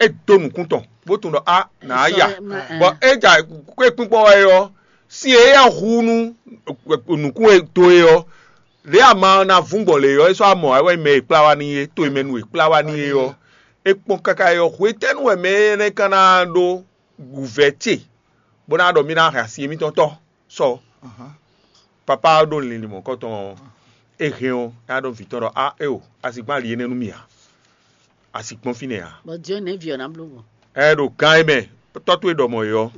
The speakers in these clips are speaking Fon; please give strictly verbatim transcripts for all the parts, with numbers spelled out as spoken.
é dó nǔkún tɔn bó tunwun ɖɔ a nǎ ya. Bɔ é ja kpékpínkpɔ́n wɛ ɔ́, sin e é yá hu nú nǔkún e dó é ɔ́, lě ama ɔ́ ná vún gbɔn lě ɔ́, é sɔ́ amɔ wɛ mɛ e kplá wá n'i é, to e mɛ nu e kplá wá n'i é ɔ́, é kpɔ́n káká é ɔ́, hwetɛ́nu wɛ mɛ énɛ́ ka ná ɖó wǔvɛ́ ce bó ná ɖɔ mì ná hɛn asi émítɔn tɔ́ sɔ? Papá ɔ́ ɖo linlin mɔ̌kɔtɔn ɔ́, é hɛn ɔ́, é ná ɖɔ vǐ tɔn ɖɔ a éo, a sixú ali énɛ́ nú mì ǎ, a sixú gbɔn fínɛ́ ǎ. Bɔ Dieu nɛ̌ vi ɔ́ ná bló gbɔn? Ɛ ɖo gán é mɛ, tɔ́ towe ɖɔ mɔ̌ é ɔ́,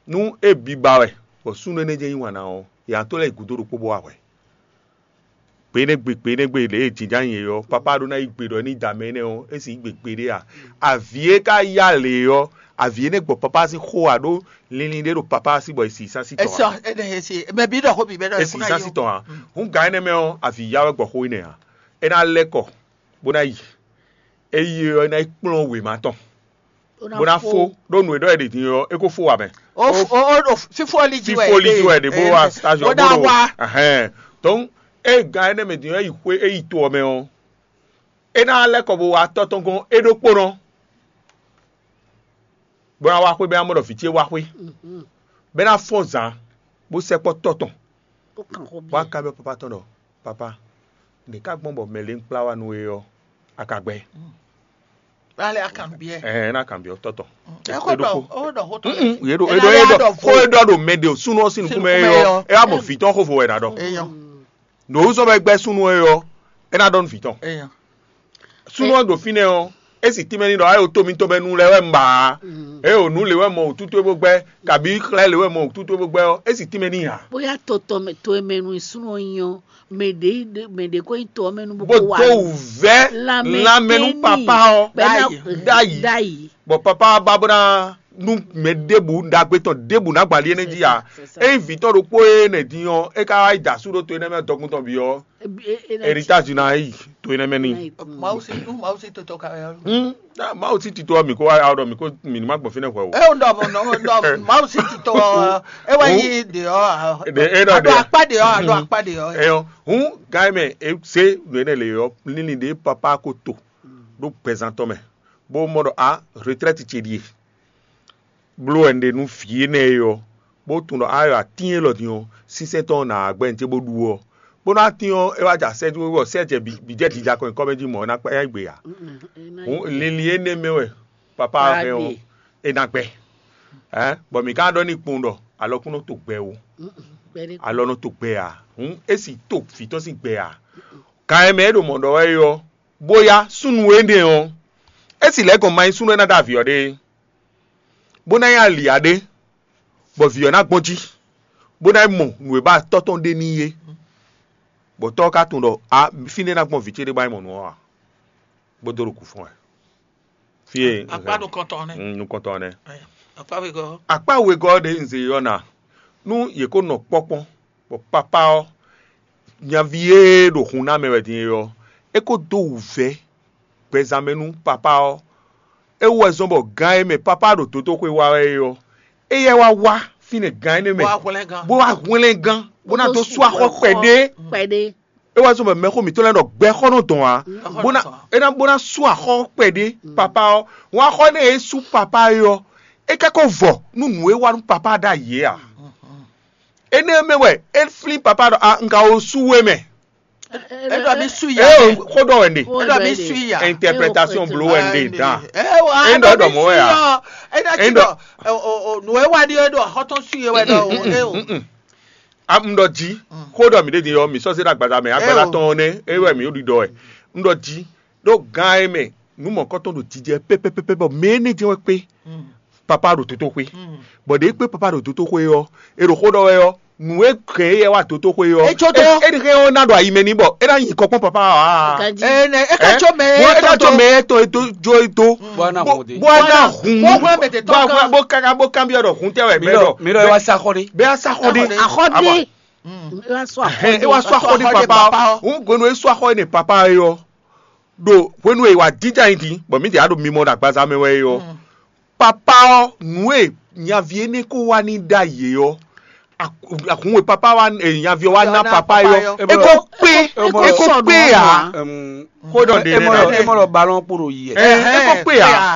nú é biba wɛ, bɔ súnnu énɛ́ jɛ́n yí wǎn ná ɔ́, yě ná tó lɛ́ yi gǔdo ɖokpó bó wá hwɛ. Gbe énɛ́ gbe gbe énɛ́ gbe lě e jǐjá nyi é ɔ́, papá ɖó ná yí gbe ɖɔ é ní da mɛ énɛ́ ɔ́, é sixú yí gbe gbeɖé a? Avǐ e ka yá lě ɔ́, avǐ énɛ́ gbɔ papá sín xó a ɖó linlin ɖé ɖo papá sí bɔ è si sá sí tɔn ǎ. Mɛ bǐ ɖɔ xó bǐ bɛ́ ɖɔ È si sá sí tɔn ǎ. Hǔn gǎn énɛ́ mɛ ɔ́, avǐ yá wɛ gbɔ xó énɛ́ ǎ. É ná lɛ́ kɔ bó ná yi. É yi ɔ́, é ná yi kplɔ́n wěma tɔn bó ná fó ɖó nǔ e ɖɔ è ɖe din ɔ́, é ko fó wǎ mɛ. Fífó li jí wɛ Fífó li jí wɛ ɖě bó wá stage bó ná ɖó wá. Ahɛn. Donc é gán énɛ́ mɛ din ɔ́, é yi xwé é yi to ɔ́ mɛ ɔ́, é ná lɛ́ kɔ bó wá tɔ́ tɔn gɔ́n é ɖokpónɔ, bó ná wá xwé bó ná mɔ ɖɔ vǐ ce wá xwé, bó ná fɔ́n zǎn bó sɛkpɔ́ tɔ́ tɔn. Bó kan xó bó wá bíɛ. Ka byɔ́ papa tɔn ɖɔ papa, nɛ̌ ká gbɔn bɔ mɛ lě un kplá wá nú we ɔ́, a ka gbɛ? Alẹ́ a kan biɛ. Ɛɛ ná kan biɛ tɔtɔ. Ẹ kó ɖɔ ó ɖɔ xó tɔn. Mm, ye ɖo Ẹ eɖɔ ná eɖɔ ɖɔ xó eɖɔ ɖo mɛ de o súnú ɔ́ sín nukún mɛ Sín nukún mɛ yɔ yɔ. Ɛ wá mɔ vǐ tɔn xó vo wɛ ná ɖɔ. Eyɔn. Nòwúzɔ bɛ gbɛ súnú ɛ yɔ, ɛ ná ɖɔ nú vǐ tɔn. Eyɔn. Súnú ɔ́ ɖo fínɛ́ ɔ́, é sì tínmɛ ní ɖɔ ayò tó mitɔn bɛ nu lɛ wɛ un ba ǎ. Ɛ o nǔ lě wɛ mɔ wǔtútú é bó gbɛ, kabǐ xlɛ́ lě wɛ mɔ wǔtútú é bó gbɛ ɔ́, é sì tínmɛ ní ǎ. Bóyá tɔtɔ mɛ to e mɛ nu súnú ɔ́ nyí ɔ́, mɛ ɖě mɛ ɖě ko nyí to ɔ́ mɛ nu bó Bó kó wá dó wǔvɛ́ lanmɛ nú papá ɔ́ ɖ'ayǐ. Bɔ papá ba bó ná nú mɛ ɖěbǔ ɖagbe tɔn ɖěbǔ ná gbali énɛ́ jí ǎ. Ényí vǐ tɔn ɖokpó e nɛ din ɔ́, é ka wá yi da asú ɖó to énɛ́ mɛ dɔkun tɔn bǐ ɔ́, héritage ná yi to énɛ́ mɛ n'i. Mawu sí nú Mawu sí totɔ ka wɛ ɔ́. Hmm, ah, Mawu sí tito ɔ́, mǐ kó wá ɖɔ mǐ kó mǐ ní má gbɔn fínɛ́ hwɛ o. É un ɖɔ mɔ nɔ ɖɔ Mawu sí tito ɔ́, é wɛ yí ɖe ɔ́. Ɖe é ɖɔ aɖo ɖe. Akpá ɖe ɔ́, aɖo akpá ɖe ɔ́. Eyɔ, hǔn gǎn mɛ é zé nǔ énɛ́ lě ɔ́, lílí ɖě papá ko to ɖó gbɛzán tɔn mɛ, bó mɔ ɖɔ a retraite ce ɖíe. Bló wɛ un ɖe nú vǐ énɛ́ e ɔ́, bó tunwun ɖɔ a yɔ atín élɔ́ din ɔ́, sínsɛ́n tɔn ɔ́ nǎ wá gbɛ́ nǔ ce bó ɖu ɔ́, bónú atín ɔ́ é wá jɛ asɛ jí wɛ sɛ́ jɛ bǐ jɛ jija kɔn nyǐkɔ mɛ jí mɔ̌ é ná kpá é ná yi gbe ǎ. Hǔn linlin énɛ́ mɛ wɛ papá ɔ́ hɛn ɔ́, é ná gbɛ. Bɔ mǐ ka ɖɔ n'i kpowun ɖɔ alɔkún nɔ to gbɛ ó, alɔ nɔ to gbɛ ǎ. Hǔn é sì to vǐ tɔn sín gbɛ ǎ. Kan e mɛ é ɖo mɔ̌ ɖɔ wɛ é ɔ́, bóyá súnnu énɛ́ ɔ́, é sì lɛ́ gɔn ma nyí súnnu e ná ɖó avǐ ɔ́ ɖe é, bó ná nyí ali ǎ ɖé, bɔ vǐ ɔ́ ná gbɔn jí, bó ná yi mɔ nǔ e ba tɔ́ tɔn ɖe n'i é, bɔ tɔ́ ɔ́ ka tunwun ɖɔ a fínɛ́ ná gbɔn vǐ ce ɖé bá yi mɔ nǔ ɔ́ ǎ, bó dó ɖo kǔ fɔ́n wɛ. Fí e akpá nukɔntɔn nɛ́. Mm, nukɔntɔn nɛ́. Akpá wegɔ́. Akpá wegɔ́ ɖě un zě ɔ́ ná, nú yě ko nɔ kpɔ́kpɔ́n, bɔ papá ɔ́, nyaví e ɖo hun ná mɛ wɛ din é ɔ́, é ko dó wǔvɛ́ gbɛzán mɛ nú papá ɔ́. É wú wɛ zɔ́n bɔ gán e mɛ papá ɖo dotóxwé wa wɛ é ɔ́, éyɛ́ wá wá fínɛ́ gán énɛ́ mɛ, bó wá hwlɛ́ngán, bó wá hwlɛ́ngán, bó ná dó sú axɔ́ kpɛɖé. Kpɛɖé. É wá zɔ́n bɔ mɛxó mǐtɔn lɛ́ɛ ɖɔ gbɛxɔ́ nɔ dɔn ǎ, bó ná é ná bó ná sú axɔ́ kpɛɖé papá ɔ́. Wǎn axɔ́ énɛ́ e é sú papá é ɔ́, é ka ko vɔ nú nǔ e wá nú papá ɖ'ayǐ é ǎ. Énɛ́ mɛ wɛ é flín papá ɖɔ a un ka wo sú we mɛ. É ɖɔ mì sú ya. É o xó ɖɔ wɛ nɖe. É ɖɔ mì sú ya. Interprétation bló wɛ nɖe dan. É o é ɖɔ ɖɔ mɔ wɛ a. É ɖɔ nǔ e wá ɖi é ɖɔ xɔtɔn sú ye wɛ ɖɔ o. É o. A un ɖɔ jí, xó ɖɔ mǐ ɖe din ɔ́, mǐ sɔ́ zé ɖo agbaza mɛ, agbaza tɔn ɔ́ nɛ́, é wɛ mǐ ɖo ɖiɖɔ wɛ. Un ɖɔ jí, ɖó gán e mɛ nǔ mɔ̌kɔtɔn ɖo jijɛ pɛ́pɛ́pɛ́pɛ́ bɔ mɛ énɛ́ jɛ́n wɛ kpé papá ɖo dotóxwé. Bɔ ɖě kpé papá ɖo dotóxwé ɔ́, è ɖo xó ɖɔ wɛ ɔ́, nǔ e hɛn éyɛ́ wá dotóxwé ɔ́, é ɖi hɛn ɔ́ ná ɖo ayi mɛ n'i bɔ é ná nyi kɔ kpɔ́n papá ɔ́ ǎ. Ɛ nɛ é ka có mɛ bɔ é ná có mɛ étɔn é tó jó é dó. Bó ná hun ɖe. Bó ná hun. Bó káká bó kanbyɔ́ ɖɔ hun tɛ wɛ bɛ́ ɖɔ. Mi ɖɔ é wá sá xɔ ɖé. Bɛ́ á sá xɔ ɖé. Axɔ ɖé. É wá sɔ axɔ ɖé papa. Hun gonu é sɔ axɔ ɖé papa yɔ. Ɖo hwenu e wà jíjà yín din bɔ mǐ ɖě á ɖo mimɔ ɖo agbaza mɛ wɛ é ɔ́, papa ɔ́, nǔ e nyaví énɛ́ ko wá ní ɖ'ayǐ é ɔ́, ahun e papa wá nyaví ɔ́ wá ná papa é ɔ́, é ko kpé é ko kpé ǎ. Xó ɖɔ ɖe nɛ ná. É mɔ ɖɔ balɔn kpo ɖo yi. É ko kpé ǎ.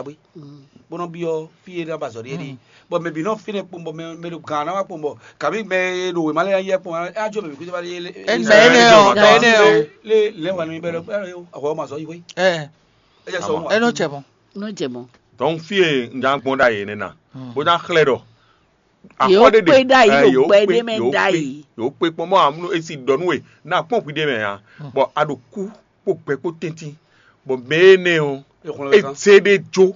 wá gbé, bó nɔ byɔ́ fí e ná ba azɔ̌ ɖe é ɖe. Bɔ mɛ bǐ nɔ fínɛ́ kpɔ́n bɔ mɛ ɖo gǎn ná wá kpɔ́n bɔ kabí mɛ e ɖo wěma lɛ́ɛ yɛ kpɔ́n, é ná jó mɛ bǐ kúta wá ɖe. Mɛ énɛ́ ɔ́, mɛ énɛ́ ɔ́. Lé lɛ́ wà nú mi bɛ́ ɖɔ ahwɛ ɔ́ ma zɔ yi hwé. Ɛ É jɛ sɔ ɛ nɔ cɛ mɔn. Nɔ jɛ mɔn. Donc fí e un já gbɔn ɖ'ayǐ énɛ́ ná, bó ná xlɛ́ ɖɔ Yě ó kpé ɖ'ayǐ ɖo gbɛ ɖé mɛ ɖ'ayǐ. Yǒ kpé kpɔ́n mɔ amúnú esi ɖɔ nú we ná kpɔ́n hwi ɖé mɛ ǎ, bɔ a ɖo kú kpó gbɛ kpó tɛ́ntin, bɔ mɛ énɛ́ ɔ́ é zé ɖé jó,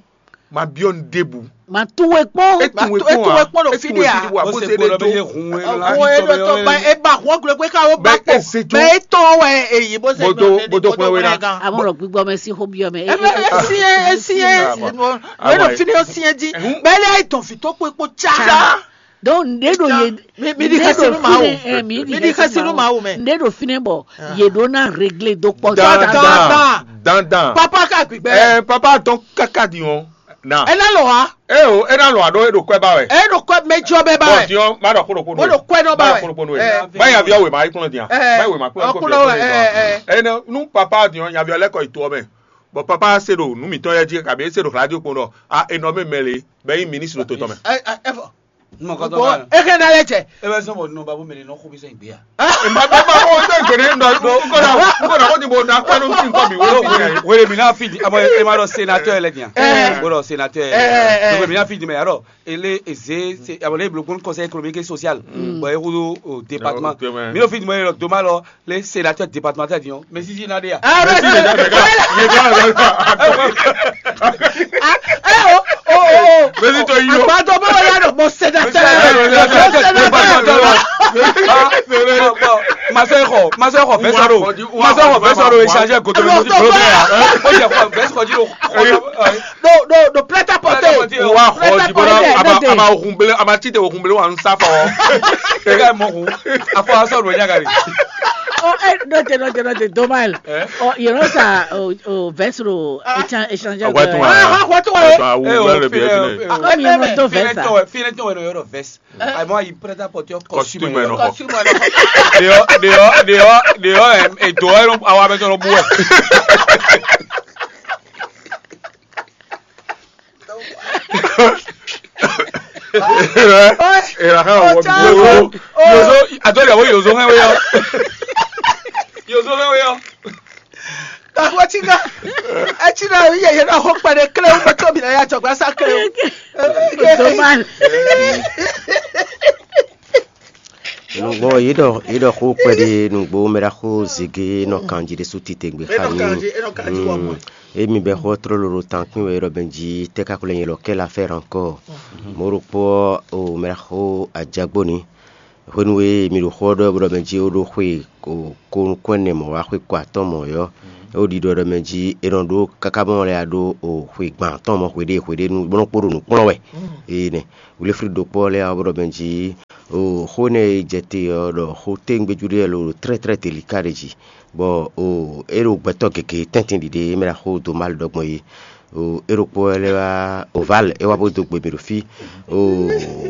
ma byɔ́ nu ɖěbǔ. Ma tún we kpɔ́n. É tún we kpɔ́n ǎ. Kpɔ́n ɖo fí ɖé ǎ. Bó zé ɖé jó. Owó e ɖo tɔn ba é ba hɔn gblé pé ká ó ba Bɛ kpɔ́n. é zé jó. Mɛ é tɔn wɛ èyí bó ṣe Bó dó- bó dó pọn wé ná. Àmọ́ ọ̀rọ̀ gbígbọ́ mɛ sí xó bí ọmọ ẹ. Esi esi esi wẹ́n ɖo fínɛ́ ó sí ẹ́ jí bẹ́ẹ̀ lé ayé tɔn fi tó kpé kpó tsa. Donc nde ɖo ye Mi- mi di xɛsi nú Mawu. Mi di xɛsi nú Mawu mɛ. Nde ɖo fínɛ́ bɔ ye ɖó ná réglé dó kpɔ. Dandan Dandan. Dandan. Papa ká gbígbẹ́. Ɛ papa tɔn kaka di ɔn. Na. Ɛ ná lɔ wa. E o, e na lɔ aɖo e ɖo kɔɛ ba wɛ. Ɛ ɖo kɔ mɛ jɔ bɛ ba Bɔn wɛ. diɔ ma ɖɔ kolo kolo. Mo ɖo kɔɛ nɔ ba Ba wɛ. kolo kolo. Ɛ. Ba ya bi awo ma yi kplɔn diya. Ba yi ma kplɔn kolo. Ɔkplɔ wɛ. Ɛ ɛ. Ɛ nɛ nu papa diɔ nya bi ɔlɛ kɔ yi to mɛ. Bɔn papa se ɖo nu mitɔn yɛ dzi kabi e se ɖo radio kpɔn ɖɔ a enɔ mi mɛ le bɛ yi ministre ɖo to tɔn mɛ. Ɛ ɛ fɔ. Mɔkɔtɔ Bɔn ma. E kɛ na lɛ cɛ. E bɛ sɔn bɔ nɔ babu mɛ nɔ xo bi sɛn gbéya. Ma bɛ ma ko tɛ gbede nɔ ko na ko na ko ti bo na kpanu ti nkɔ bi wo. Wele mi na fi di abo e ma dɔ sénateur lɛ diyan. Ɛ. Wele sénateur. Ɛ, ɛ, ɛ. Wele mi na fi di mɛ alors ele eze se abo le blokun conseil économique et social. Bon e kudo au département. Ok, ouais. Mi o fi di mɛ dɔ ma lɔ le sénateur départemental diyan. Mais si si na de ya. Ɛ bɛ se. Ɛ o o o o. Mesi to yi lo. Agbadɔ bɛ wɛ ya dɔ bɔ sénateur. Masɛ xɔ masɛ xɔ vɛsɛ ɖo masɛ xɔ vɛsɛ ɖo échange goto mi ti bolo bɛ ya o jɛ xɔ vɛsɛ xɔ ji ɖo xɔ Do do do prêt à porter. Wa xɔ di bɔra a ma a ma ohun bele a ma tite ohun bele wa n sa fɔ. e ka mɔ kun afɔ asɔ ɖo nya gari. Oh, eh, note, note, note, dommage. Eh? Oh, you know ça, oh, oh, veste au échange, échange. Awa tun Ah, ah, what do I? Awu Eh, oh, wɛrɛ bi fine, ɛbi eh, nɛ. oh. Comme you know to veste. Fine to yɔrɔ vɛs. Ayiwa yi prêt à porter Costume costume nɔ. Costume nɔ. Deɔ deɔ deɔ deɔ ɛ edo ɛ awa bɛ sɔrɔ bu ɛ. Era ha wɔ bi yozo yozo ato de wo yozo hɛn we yɔ. Yozo hɛn we yɔ. Kakwa ti ka. Eti na yi yɛ na ho kpɛɖe kle wo to bi na ya jɔgba sa kle wo. Dommage. Nugbo yi ɖɔ yi ɖɔ xó kpɛɖe nugbo mɛ ɖa xó zigi nɔ kanji ɖe su tite gbe xa ni. Emi bɛ xɔ trolo ɖo tankpin wɛ ɖɔ bɛnji tɛ kaklo nyɛ lɔ kɛ la fɛ rankɔ. Mo ɖo kpɔ o mɛ ɖa xó ajagbo ni. Hwenu e mi ɖo xɔ ɖɔ bɔ ɖɔ bɛnji o ɖo xwe ko ko nukɔn nɛ mɔ wa xwe ko atɔn mɔ yɔ. E o ɖiɖɔ ɖɔ bɛnji e nɔ ɖo kaka mɔ lɛ ɖo o xwe gban atɔn mɔ xwe ɖe xwe ɖe nu bɔ nɔ kpo ɖo nukplɔn wɛ. Ee nɛ. Wilfrid ɖo kpɔ lɛ ɔ́ bɔ ɖɔ bɛnji O xó énɛ́ e jɛ te ɔ́ ɖɔ xó téwúngbéjú ɖé wɛ lo ɖo tlɛ́tlɛ́ delika ɖé jí, bɔ o é ɖo gbɛtɔ́ gěgé tɛ́ntin ɖiɖe e mɛ ɖo xó dó Mawu ɖɔ gbɔn é. O é ɖokpó wɛ lɛ́ wá Oval é wá bó dó gbe mì ɖo fí. O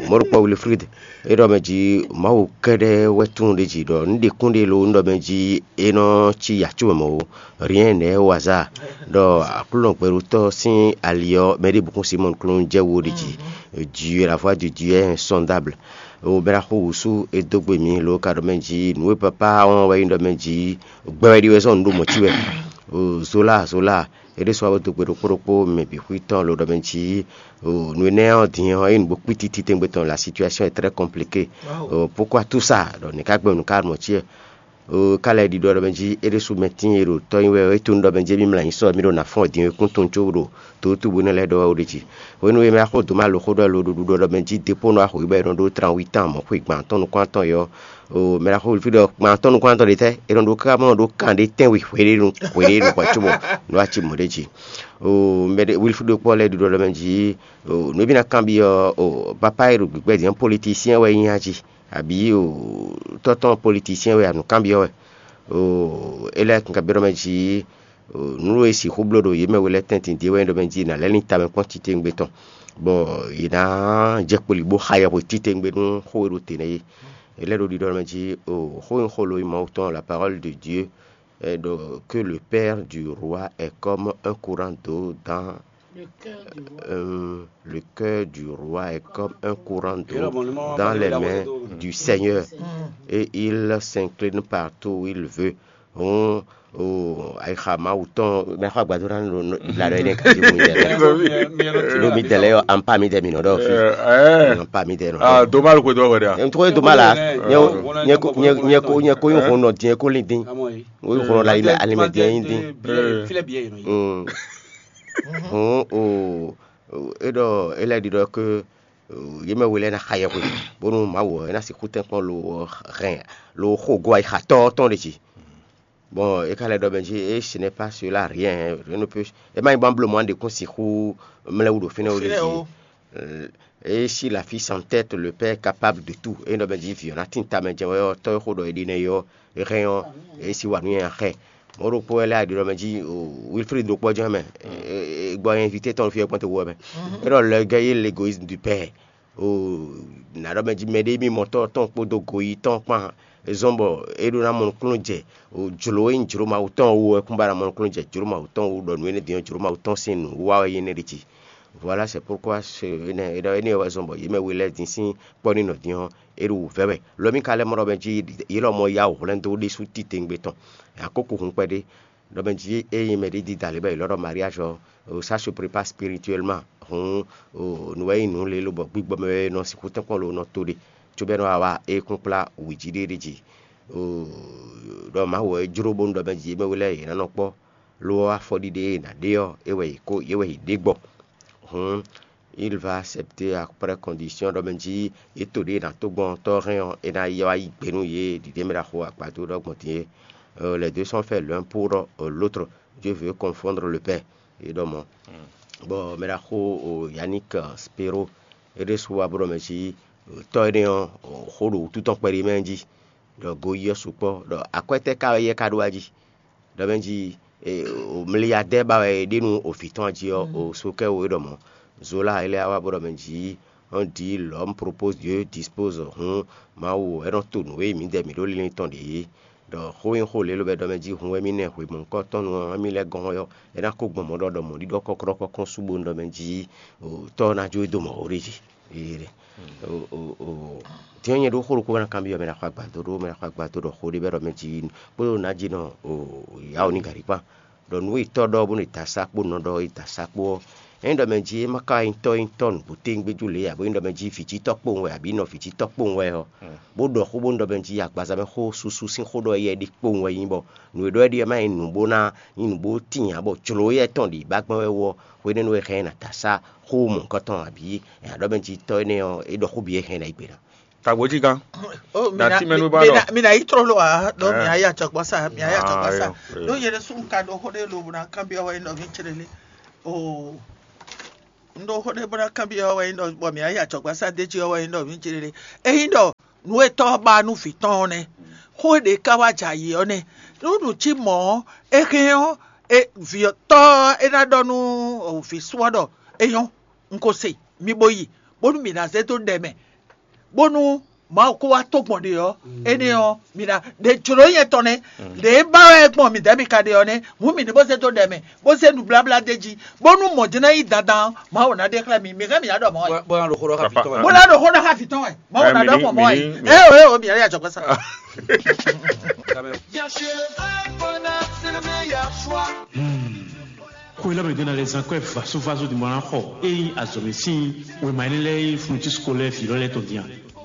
mɔ̌ ɖokpó Wilfrid é ɖɔ mɛ jí Mawu kɛ́ɖɛ́ wɛ tunwun ɖé jí ɖɔ nǔ ɖe kún ɖé lo un ɖɔ mɛ jí é nɔ cí yǎ có mɛ mɔ̌ ó. Rien n'est au hasard. Ɖɔ Aklúnɔ gbɛɖótɔ́ sín ali ɔ́, mɛ ɖěbǔ kún Simɔ́ɔ klún jɛ wo ɖi jí. Dieu, la voix de Dieu est insondable. O bɛ́ ná xo wǔsú é dó gbe mǐ lo ka ɖɔ mɛ jí nǔ e papá wɔn wɛ nyí ɖɔ mɛ jí gbɛ wɛ ɖi wɛ zɔ́n nǔ ɖo mɔ̌ cí wɛ. O Zola, Zola, é ɖésú wá bó dó gbe ɖokpó ɖokpó mɛ bǐ xwí tɔn lo ɖɔ mɛ jí o nǔ énɛ́ ɔ́ din ɔ́ é nǔ bó kpítí titewungbe tɔn, la situation est très compliquée. O pourquoi tout ça? Ɖɔ nǐ ká gbɛ́ nǔ ká mɔ̌ cí wɛ? O ka lɛ́ ɖiɖɔ ɖɔ mɛ jí é ɖésú mɛ tíin e ɖo tɔ́ nyi wɛ é tunú ɖɔ mɛ jí émí mlɔ anyi sɔ émí ɖo ná fɔ́n dín é kún tunwun có ɖo tòótú bó nɛ́ lɛ́ ɖɔ wɛ ó ɖe jí. Hwenu e mɛ axó dǒ ma lo xó ɖɔ lo ɖuɖu ɖɔ ɖɔ mɛ jí dépónɔ axó yi bɔ é nɔ ɖó tranwítán mɔ̌ xwe gbǎn tɔn nukún atɔn yɔ. O mɛ axó Wilfrid ɖɔ gbǎn tɔn nukún atɔn ɖe tɛ́ é nɔ ɖó ká mɔ ɖó kan ɖé tɛ́nwe hweɖénu hweɖénu hwɛ cóbɔ nɔ wá ci mɔ̌ ɖé jí. O mɛ ɖé Wilfrid ɖokpó lɛ́ ɖiɖɔ ɖɔ mɛ jí o nǔ e mí ná kanbyɔ́ o papa e ɖo gbǐgbɛ́ dín politisiyɛn wɛ nyí a jí? Abǐ o tɔ́ tɔn politisiyɛn wɛ a nǔ kanbyɔ́ wɛ? O é lɛ́ kanbyɔ́ ɖɔ mɛ jí nǔ e sixú bló ɖo yě mɛ we lɛ́ɛ tɛ́ntin din wɛ nyí ɖɔ mɛ jí è nǎ lɛ́ lin tamɛ kpɔ́n titewungbe tɔn, bɔ yě ná jɛ kpoli bó xa yɛhwe titewungbe nú xó e ɖo te nɛ́ é. È lɛ́ ɖo ɖiɖɔ mɛ jí o xó e xó lo nyí Mawu tɔn, la parole de Dieu, est de- que le père du roi est comme un courant d'eau dans euh, le cœur du roi est comme un courant d'eau dans les mains du Seigneur, et il s'incline partout où il veut. Hɔn o ayixa Mawu tɔn mɛ xɔ agbadó na ɖo ìlànà yẹn ká ti mú yẹn lɛ. Ɖo mi dɛlɛ yɔ ampa mi dɛ mi nɔ ɖɔ fi. Ampa mi dɛ nɔ ɖɔ. Doma lo ko dɔ wɛ ɖe a? Ntɔgɔ ye doma la. Nyɛ ko nyɛ ko nyɛ ko nyɛ ko yi hun nɔ diɛ ko lin din. O yi hun nɔ la yi mɛ alimɛ diɛ yin din. Hɔn o e ɖɔ e lɛ ɖi ɖɔ ke yě mɛ we lɛ́ɛ ná xa yɛhwe, bónú Mawu ɔ́, é ná sixú tɛ́nkpɔ́n lo hɛn lo xo gɔ́ ayixa tɔ́ tɔn ɖe jí. Bon, é ka lɛ́ ɖɔ mɛ jí, et ce n'est pas cela rien, rien ne peut, é má nyí bɔ bló mɔ̌ ɖě kún sixú mlɛ́ wú ɖo fínɛ́ wú ɖe jí. Et si la fille s'entête, le père est capable de tout. É ɖɔ mɛ jí vǐ ɔ́ ná tín tamɛ jɛ́n wɛ ɔ́, tɔ́ e xó ɖɔ é ɖi nɛ́ é ɔ́, é hɛn ɔ́, é sí wa nú nyanya xɛ. Mɔ̌ ɖokpó wɛ lɛ́ a ɖi ɖɔ mɛ jí Wilfrid ɖokpó jɛ́n mɛ. Gbɔ invité tɔn fí ɔ́ kpɔ́n te wú ɔ́ mɛ. É ɖɔ le gars est l'égoïsme du père. O nǎ ɖɔ mɛ jí mɛɖé mimɔtɔ́ tɔn kpódó goyítɔn kpán, é zɔ́n bɔ é ɖó ná mɔ nukúnnú jɛ. O jlǒ e nyí jlǒ Mawu tɔn wú wɛ kún ba ná mɔ nukúnnú jɛ jlǒ Mawu tɔn wú, ɖɔ nǔ énɛ́ din ɔ́, jlǒ Mawu tɔn sín nǔwiwa wɛ nyí énɛ́ ɖi jí. Voilà, c'est pourquoi ce énɛ́ é ɖɔ énɛ́ wɛ zɔ́n bɔ yě mɛ we lɛ́ɛ din sín kpɔ́ n'i nɔ din ɔ́, é ɖo wǔvɛ́ wɛ. Lɔ mì ka lɛ́ mɔ ɖɔ mɛ jí yě lɔmɔ̌ yá wǔ hwlɛ́n dó ɖésú titewungbe tɔn. Akókó hun kpɛɖé ɖɔ mɛ jí ényí mɛɖé dídá lě bɔ è lɔ́ ɖɔ mariage ɔ́, ça se prépare spirituellement. Hǔn nǔ wɛ nyí nǔ lě lobɔ gbígbɔ mɛ wɛ nɔ sixú tɛ́nkpɔ́n lo nɔ to ɖe, cóbɔ é nɔ wa wá é kún kplá wǐjíɖéɖé jí. Ɖɔ Mawu wɛ é jló bónú ɖɔ mɛ jí yě mɛ we lɛ́ɛ yě ná nɔ kpɔ́, lo ɔ́ afɔɖiɖe e è nǎ ɖe ɔ́, é wɛ yě kó é wɛ yě ɖe gbɔ. Hǔn il va accepter après condition ɖɔ mɛ jí yě to ɖě è nǎ tó gbɔn tɔ́ hɛn ɔ́, é ná yi wá yí gbe nú yě ɖiɖe mɛ ɖaxó agbadó ɖɔ gbɔn din é. Les deux sont faits l'un pour l'autre. Dieu veut confondre le père. É ɖɔ mɔ̌. Bɔ mɛ ɖaxó Yannick Spero é ɖésú wá bó ɖɔ mɛ jí tɔ́ énɛ́ ɔ́, xó ɖo wútu tɔn kpɛɖé mɛ jí, ɖɔ goyí ɔ́ sukpɔ́, ɖɔ akwɛ́ tɛ́ ka wɛ yɛ ka ɖó wá jí. Ɖɔ mɛ jí mliadɛ́ ba wɛ é ɖe nú o vǐ tɔn jí ɔ́, o sukɛ́ o é ɖɔ mɔ̌. Zola é lɛ́ wá bó ɖɔ mɛ jí on dit l'homme propose, Dieu dispose. Hǔn Mawu é nɔ to nǔ e mǐdɛɛ mǐ ɖó linlin tɔn ɖě é. Ɖɔ xó nyí xó lě lobɛ ɖɔ mɛ jí hun wɛ mì nɛ hwemɔ̌kɔ́tɔ́nu ɔ́, émí lɛ́ɛ gɔ́n ɔ́, é ná kó gbɔn mɔ̌ ɖɔ ɖɔ mɔ̌ ɖiɖɔ kɔ́klɔ́kɔ́ kɔn sú bónú ɖɔ mɛ jí tɔ́ ɔ́ ná jó é dó mɔ̌ ó ɖe jí. Din ɔ́ nyɛ ɖó xó ɖokpó bɔ ná kanbyɔ́ mɛ ɖaxó agbadó ɖó mɛ ɖaxó agbadó ɖɔ xó ɖé bɔ é ɖɔ mɛ jí kpódó nǎjínɔ yǎ ò ní gǎ ɖi kpán. Ɖɔ nǔ e tɔ́ ɖɔ bónú è da sá kpó nɔ ɖɔ è da sá kpó ɔ́, ényí ɖɔ mɛ jí é má ka nyí tɔ́ nyí tɔ́ nǔgbó téwúngbéjú lě ǎ, bó nyí ɖɔ mɛ jí vǐ jí tɔ́ kpowun wɛ abǐ nɔ vǐ jí tɔ́ kpowun wɛ ɔ́, bó ɖɔ xó bónú ɖɔ mɛ jí agbaza mɛ xó susu sín xó ɖɔ éyɛ́ ɖi kpowun wɛ nyí bɔ nǔ e ɖɔ é ɖi ɔ́ má nyí nǔ bó ná nyí nǔ bó tín ǎ, bɔ jlǒ éyɛ́ tɔn ɖi bǎgbɛ́ wɛ wú ɔ́, hwenɛ́nu e hɛn ɛ ná da sá xó mɔ̌hunkɔtɔn abǐ è nǎ ɖɔ mɛ jí tɔ́ énɛ́ ɔ́, é ɖɔ xó bǐ e hɛn ɛ ná yí gbe ná. Tagbo jí gán. Oh, mi Na na- tí mɛnu mi- bá mi lɔ. na- mi na yi trɔ lo a, donc mi Eh. ayi atsɔgbɔ sa, mi ayi Eh. atsɔgbɔ sa. Ah, ayo, ayo. Donc yɛrɛ sun ka ɖo xó ɖe lo na kan bi awa yi nɔ mi tsere le. Oh. Un ɖó xó ɖé bó ná kanbyɔ́ wɛ nyí ɖɔ bɔ mǐ ná yi ajɔ̌gbásá d'é jí ɔ́ wɛ nyí ɖɔ mǐ jlé ɖe. Ényí ɖɔ nǔ e tɔ́ ɔ́ ba nú vǐ tɔn ɔ́ nɛ́, xó e ɖě ká wá jɛ ayǐ ɔ́ nɛ́. Nú nǔ cí mɔ̌ ɔ́, é hɛn ɔ́, vǐ ɔ́ tɔ́ ɔ́ é ná ɖɔ nú vǐ sú ɔ́ ɖɔ é nyɔ́, un ko se, mi bo yi, bónú mǐ ná zé dó ɖɛ mɛ, bónú Mawu kó wá tó gbɔn ɖe ɔ́, énɛ́ ɔ́, mi ná ɖe jlǒ nyɛ tɔn nɛ́. Ɖě ba wɛ gbɔn mǐdɛɛ mi ka ɖe ɔ́ nɛ́, hǔn mǐ ní bó zé dó ɖɛ mɛ, bó zé nǔbláblá d'é jí, bónú mɔ̌ jɛ́n ná nyí dandan ɔ́, Mawu ná ɖe xlɛ́ mi, mi hɛn mǐ ná ɖɔ mɔ̌ wɛ. Bó ná ɖo xó ɖɔ xá vǐ tɔn wɛ. Bó ná ɖo xó ɖɔ xá vǐ tɔn wɛ. Mawu ná ɖɔ gbɔn mɔ̌ wɛ. Ée o, ée o, mǐ ná ɖe ajɔ̌gbɛ́ sa. Bien sûr, le vrai bonheur, c'est le meilleur choix. Xwé lɛ́ɛ mɛ ɖě ná lɛ́ zán kɔ́ ɛ vasovaso din bɔ ná xɔ ényí azɔ̌mɛ sín wěma énɛ́ lɛ́ɛ e nyí fourniture scolaire vǐ lɔ lɛ́ɛ tɔn din a?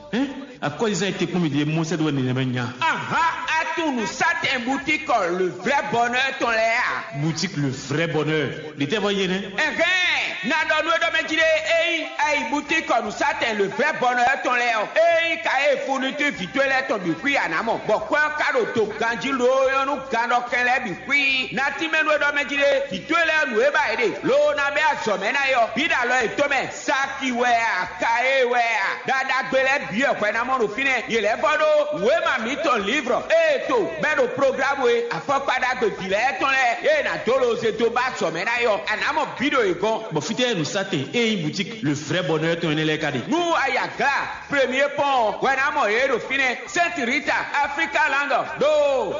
Hɛn, akɔ́zizan e te kpɔ́n mì ɖe mɔ sɛ́ dó wɛ nɛnɛmɛ nya. Aha, a tunwun nǔsatɛn butíkɔ le vrai bonheur tɔn lɛ́ɛ a? Boutique le vrai bonheur. Ɖě tɛ́ vɔ yé nɛ́? Ɛhɛn, na ɖɔ nú é ɖɔ mɛ jí ɖé, ényí a yi butíkɔ nǔsatɛn le vrai bonheur tɔn lɛ́ɛ ɔ́, ényí ka e fourniture vǐ towe lɛ́ɛ tɔn bǐ xwí a nǎ mɔ, bɔ kwɛ́ ɔ́ ka ɖo do ganjí loo nyɔ́ nú gannɔkɛn lɛ́ɛ bǐ xwí. Na tínmɛ nú é ɖɔ mɛ jí ɖé, vǐ towe lɛ́ɛ nǔ e ba yě ɖe, loo ná bɛ́ azɔ̌ mɛ ná é ɔ́, bǐ ɖo alɔ yětɔn mɛ. Saki wɛ a, ka e wɛ a, ɖaɖagbe lɛ́ɛ bǐ wɛ hwɛ ná mɔ ɖo fínɛ́. Yě lɛ́ vɔ ɖó wěma mǐtɔn lǐvrɔ ée to bɛ́ ɖo programu e afɔkpa ɖagbe vǐ lɛ́ɛ tɔn lɛ́ɛ ée nǎ dó lo zé dó ba azɔ̌ mɛ ná é ɔ́, a nǎ mɔ bǐ ɖo yě gɔ́n. Bɔ fítɛ́ nǔsatɛn e nyí boutique le vrai bonheur tɔn énɛ́ lɛ́ɛ ka ɖe? Nú a yi Aglá, Premier Pɔ́n ɔ́, hwɛ ná mɔ yě ɖo fínɛ́. Sainte Rita, Africa Land, ɖo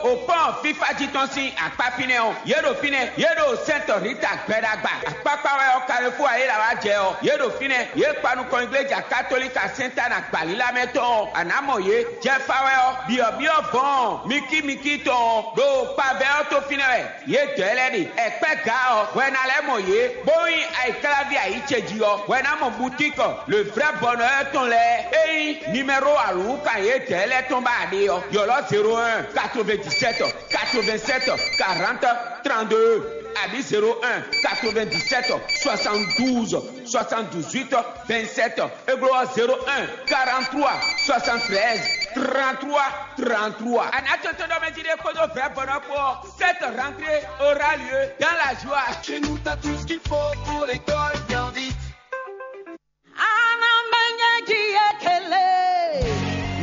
o pɔ́n fífá jí tɔn sín akpá fínɛ́ ɔ́, yě ɖo fínɛ́, yě ɖo Sainte Rita gbɛɖagba. Akpákpá wɛ ɔ́, Carrefour ayéla wá jɛ ɔ́, yé ɖo fínɛ́, yě kpa nukɔn igléja katolíka Sɛ́ntána gbǎlílá mɛ tɔn ɔ́, a nǎ mɔ yě. Jɛfa wɛ ɔ́, byɔ̌byɔ́ vɔ̌ɔn mikímikí tɔn ɔ́, ɖo kpavɛ ɔ́ tó fínɛ́ wɛ. Yědɛɛ lɛ́ɛ ɖe ɛkpɛ́ gǎ ɔ́, hwɛ ná lɛ́ mɔ yě, bó nyí ayǐkláví ayǐ ce jí ɔ́, hwɛ ná mɔ butíkɔ le vrɛ́ bɔnɔ ɔ́ tɔn lɛ́ɛ. Ényí nimɛ́ro alǔwúkan yědɛɛ lɛ́ɛ tɔn ba a ɖe ɔ́, ylɔ́ zéro un, quatre-vingt-dix-sept, quatre-vingt-sept, quarante, trente-deux, abǐ zéro un, quatre-vingt-dix-sept, soixante-douze, soixante-dix-huit, vingt-sept. Égbló ɔ́, zéro un, quarante-trois, soixante-treize, trente-trois, trente-trois. A nǎ tɔn tɔn ɖɔ mɛ jí ɖé kpódó vrɛ̌ bɔnɔ kpó ɔ́, cette rentrée aura lieu dans la joie. Chez nous, t'as tout ce qu'il faut pour l'école bien vite.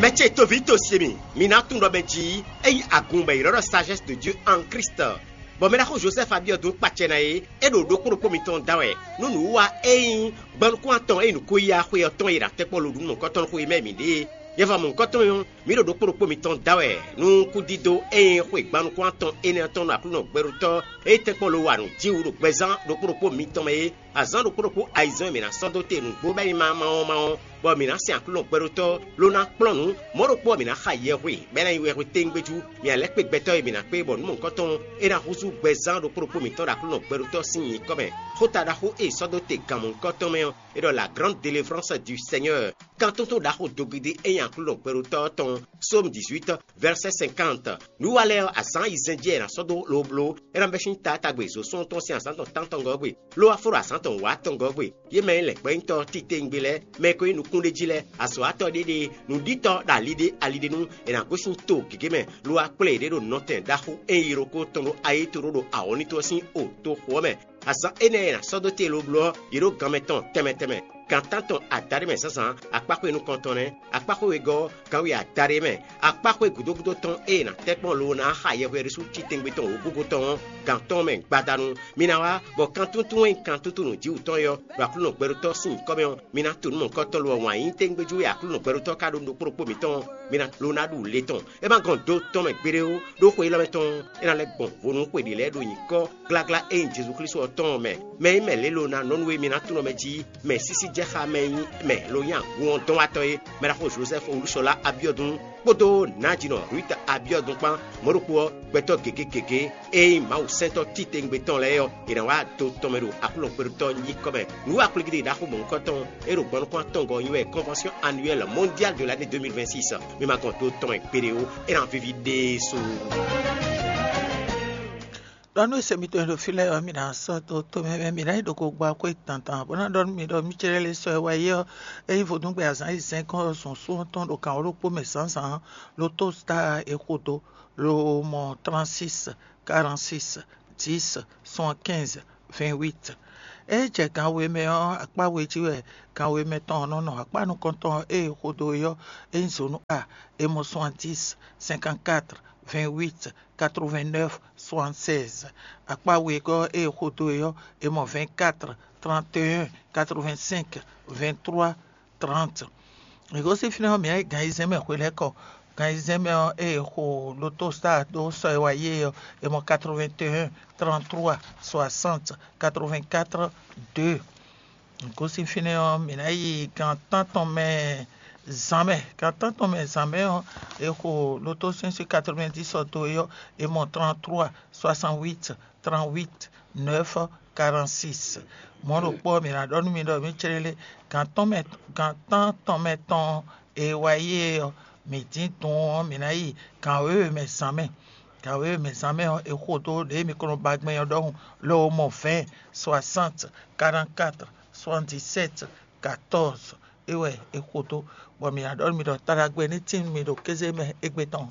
Mɛ ce toví to se mi, mi ná tunwun ɖɔ mɛ jí ényí agun bɔ è ylɔ́ ɖɔ sagesse de Dieu en Christ. Bɔ mɛ ɖaxó Josɛ́fu Abiɔdun kpacɛ ná é, é ɖo ɖokpó ɖokpó mitɔn da wɛ, nú nǔwiwa e nyí gbɔnukún atɔn e nyí nǔkó-yíyá xwe ɔ́ tɔn e ɖo atɛ́kpɔ́ lodǔnnɔ mɔ̌hunkɔtɔn xwe mɛ mǐ ɖe é. Yɛva mɔ̌hunkɔtɔn ɔ́, mǐ ɖo ɖokpó ɖokpó mitɔn da wɛ nú kúdídó e nyí xwe gbɔnukún atɔn énɛ́ ɔ́ tɔn ɖo Aklúnɔ gbɛɖótɔ́ e tɛ́nkpɔ́n lo wa nǔ jí wú ɖo gbɛzán ɖokpó ɖokpó mitɔn mɛ é, azǎn ɖokpó ɖokpó ayizɛ́n e mǐ ná sɔ́ dó te nǔgbó bɔ é nyí mawɔmawɔ, bɔ mǐ ná sɛn Aklúnɔ gbɛɖótɔ́, ló ná kplɔ́n nǔ. Mɔ̌ ɖokpó ɔ́, mǐ ná xa yɛhwe, bɔ é ná nyí wɛhweténgbéjú. Mǐ ná lɛ́ kpé gbɛtɔ́ e mǐ ná kpé, bɔ nǔ mɔ̌hunkɔtɔn é ná húzú gbɛzán ɖokpó ɖokpó mǐtɔn ɖo Aklúnɔ gbɛɖótɔ́ sín nyǐkɔ mɛ. Xóta ɖaxó e è sɔ́ dó te gan mɔ̌hunkɔtɔn mɛ ɔ́, é ɖɔ la grande délivrance du Seigneur. Kantúntún ɖaxó dogidi e nyí Aklúnɔ gbɛɖótɔ́ ɔ́ tɔn, Psaume dix-huit, verset cinquante. Nǔwiwa lɛ́ɛ ɔ́, azǎn ayizɛ́n jí wɛ è nǎ sɔ́ dó lobló, é ná bɛ́ sín taátagbe zǒsúnnu tɔn sín azǎn tɔn tántɔngɔ́ ɔ́ gbe, ló wá fó ɖo azǎn tɔn wǎtɔngɔ́ ɔ́ gbe. Yě mɛ e lɛ̌ gbɛ́nyítɔ́ titewungbe lɛ́ɛ, mɛ e ko nyí nukúnɖéjí lɛ́ɛ, azɔ̌watɔ́ ɖé ɖe, nǔɖítɔ́ ɖo ali ɖé ali ɖé nu, è nǎ gosín to gěgé mɛ, lo wá kplé yě ɖe ɖo nɔtɛn ɖaxó e nyí ɖokpó tɔn ɖo ayétoɖoɖo awɔ̌nlín tɔn sín o toxo ɔ́ mɛ. Azǎn énɛ́ e è nǎ sɔ́ dó te lobló ɔ́, yě ɖo gan mɛ tɔn tɛnmɛ tɛnmɛ. Gan tántɔn adaɖé mɛ zǎnzǎn, akpáxwé nukɔntɔn nɛ́, akpáxwé wegɔ́ ɔ́, gan we adaɖé mɛ, akpáxwé gǔdo gúdo tɔn e è nǎ tɛ́ kpɔ́n lobo ná xa yɛhweɖésú titewungbe tɔn wǒgúgú tɔn ɔ́, gan tɔn mɛ gbadanu. Mi ná wá, bɔ kan túntún e nyí kan túntún nǔjíwǔtɔn é ɔ́, ɖo Aklúnɔ gbɛɖótɔ́ sín nyǐkɔ mɛ ɔ́, mi ná to nǔ mɔ̌hunkɔtɔn lo ɔ́ wǎn yí tégbéjú e Aklúnɔ gbɛɖótɔ́ ka ɖó nú ɖokpó ɖokpó mǐtɔn ɔ́, mi ná lo ná ɖu le tɔn. É ma gɔn do tɔn mɛ gbeɖé ó, ɖó xwe élɔ́ mɛ tɔn ɔ́, é ná lɛ́ gbɔn vo nú xwe ɖě lɛ́ɛ ɖo nyǐkɔ gláglá e nyí Jezu Klísu ɔ́ tɔn ɔ́ mɛ. Mɛ e nyí mɛ lě lo ná nɔ nú e mi ná tunwun mɛ jí, mɛ sísí jɛ xá mɛ e nyí mɛ lo nyí agun ɔ́ dɔn wá tɔ́ é, mɛ ɖaxó Jozɛ́fu Olúṣɔlá Abiɔ́dun kpódó nǎjinɔ Ruth Abiɔ́dun kpán, mɔ̌ ɖokpó ɔ́, gbɛtɔ́ gěgé gěgé e nyí Mawu sɛntɔ́ titewungbe tɔn lɛ́ɛ ɔ́, è nǎ wá do tɔn mɛ ɖo Aklúnɔ gbɛɖótɔ́ nyíkɔ mɛ. Nǔwiwa kplígídí ɖaxó mɔ̌hunkɔtɔn e ɖo gbɔnukún atɔngɔ́ ɔ́ nyí wɛ Convention Annuelle Mondiale de l'année deux mille vingt-six. Mi ma gɔn do tɔn mɛ gbeɖé ó, é ná víví ɖésú. Ɖɔ nú e se mitɔn e ɖo fí lɛ́ɛ ɔ́, mi ná sɔ́ dó tomɛ mɛ, mi ná yi ɖo ko gba xwé dandan, bó ná ɖɔ nú mi ɖɔ mí cɛ́ lɛ́ sɔ́ ɛ wá yi ɔ́, ényí vodúngbe azǎn yi zɛ́n kɔn zɔn sú ɔ́ tɔn ɖo kan ɖokpó mɛ zǎnzǎn, lo tó star e xo dó, lo mɔ trente-six, quarante-six, dix, soixante-quinze, vingt-huit. É jɛ gan we mɛ ɔ́, akpá we jí wɛ gan we mɛ tɔn ɔ́ nɔ nɔ. Akpá nukɔntɔn ɔ́, ée è xo dó é ɔ́, é nyí zǒnu A, é mɔ soixante-dix, cinquante-quatre, vingt-huit, quatre-vingt-neuf, soixante-seize. Akpá we ɔ́, ée è xo dó é ɔ́, é mɔ vingt-quatre, trente et un, quatre-vingt-cinq, vingt-trois, trente. È gosín fínɛ́ ɔ́, mǐ ná yi gan ayizɛ́n mɛ hwelɛ́kɔ. Gan ayizɛ́n mɛ ɔ́, ée è xo lotostar dó sɔ e wá yi é ɔ́, è mɔ quatre-vingt-un, trente-trois, soixante, quatre-vingt-quatre, deux. È gosín fínɛ́ ɔ́, mǐ ná yi gan tántɔn mɛ zǎnmɛ. Gan tántɔn mɛ zǎnmɛ ɔ́, è xo loto sín sí quatre-vingt-dix ɔ́ dó é ɔ́, è mɔ trente-trois, soixante-huit, trente-huit, neuf, quarante-six. Mɔ̌ ɖokpó ɔ́, mǐ ná ɖɔ nú mi ɖɔ mǐ clélé gan tɔn mɛ gan tántɔn mɛ tɔn e wá yi é ɔ́, mǐ dín dun ɔ́, mǐ ná yi gan wěwe mɛ zǎnmɛ. Gan wěwe mɛ zǎnmɛ ɔ́, è xo dó ɖě mi ko nɔ ba gbɛn ɔ́ ɖɔhun, lɔ mɔ vingt, soixante, quarante-quatre, soixante-dix-sept, quatorze. É wɛ è xo dó, bɔ mǐ ná ɖɔ nú mi ɖɔ taɖagbe ní tín nú mi ɖo kéze mɛ égbé tɔn.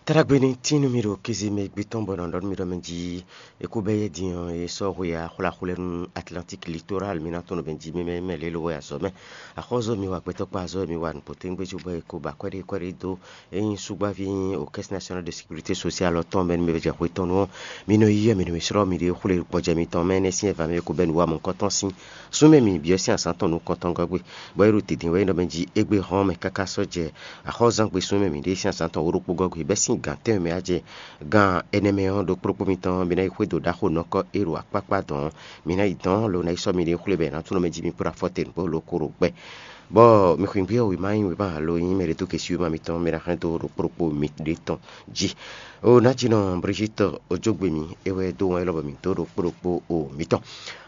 Taɖagbe ní tín nú mi ɖo kéze mɛ égbé tɔn, bɔ è nɔ ɖɔ nú mi ɖɔ mɛ jí é kó bɛ́ yɛ din ɔ́, é sɔ́ hwe axwláxwlɛ́ nú Atlantique Littoral, mi ná tɔn nɔ mɛ jí mɛ mɛ lě lo wɛ azɔ̌ mɛ. Axɔ́zɔ́ mi wa gbɛtɔ́ kpá azɔ́ mi wa nǔgbó téŋgbé cóbɔ è ko ba kwɛ́ɖé kwɛ́ɖé dó. Ényí súgbáví nyí o Caisse Nationale de Sécurité Sociale ɔ́ tɔn mɛ nú mi jɛ xwe tɔn nu ɔ́, mi nɔ yí yɛ mi nɔ mi slɔ́ mi ɖě xwlé gbɔjɛ mitɔn mɛ énɛ́ sín ɛvǎ mɛ ko bɛ́ nǔ wa mɔ̌hunkɔtɔn sín súnmɛ mi byɔ́ sín azǎn tɔn nukɔntɔn gɔ́gbé, bɔ é ɖo dǐndín wɛ é nɔ mɛ jí égbé hɔn mɛ káká sɔ́ jɛ axɔ́zán gbe súnmɛ mi ɖě sín azǎn tɔn wǒ ɖokpó gɔ́gbé bɛ́ sín gǎn tɛ́nwe mɛ á jɛ gan ɛnɛ mɛ ɔ́, ɖokpó ɖokpó mitɔn mi ná yi xwedó ɖaxó nɔkɔ e ɖo akpákpá dɔn ɔ́, mi ná yi dɔn lo ná yi sɔ́ mi ɖě xwlé bɔ è nǎ tlɔ́n mɛ jí mi kplá fɔ́te nǔgbó lo ko ɖo gbɛ. Bɔ mi xwǐngbí ɔ́ wěma nyí wěma alo nyí mɛ ɖě dó gěsí wěma mitɔn mɛ ná hɛn dó ɖokpó ɖokpó mi ɖě tɔn jí. O Nátínɔ Brigitte Ojógbe mi é wɛ dó wɔn élɔ́ bɔ mǐ dó ɖokpó ɖokpó o mitɔn.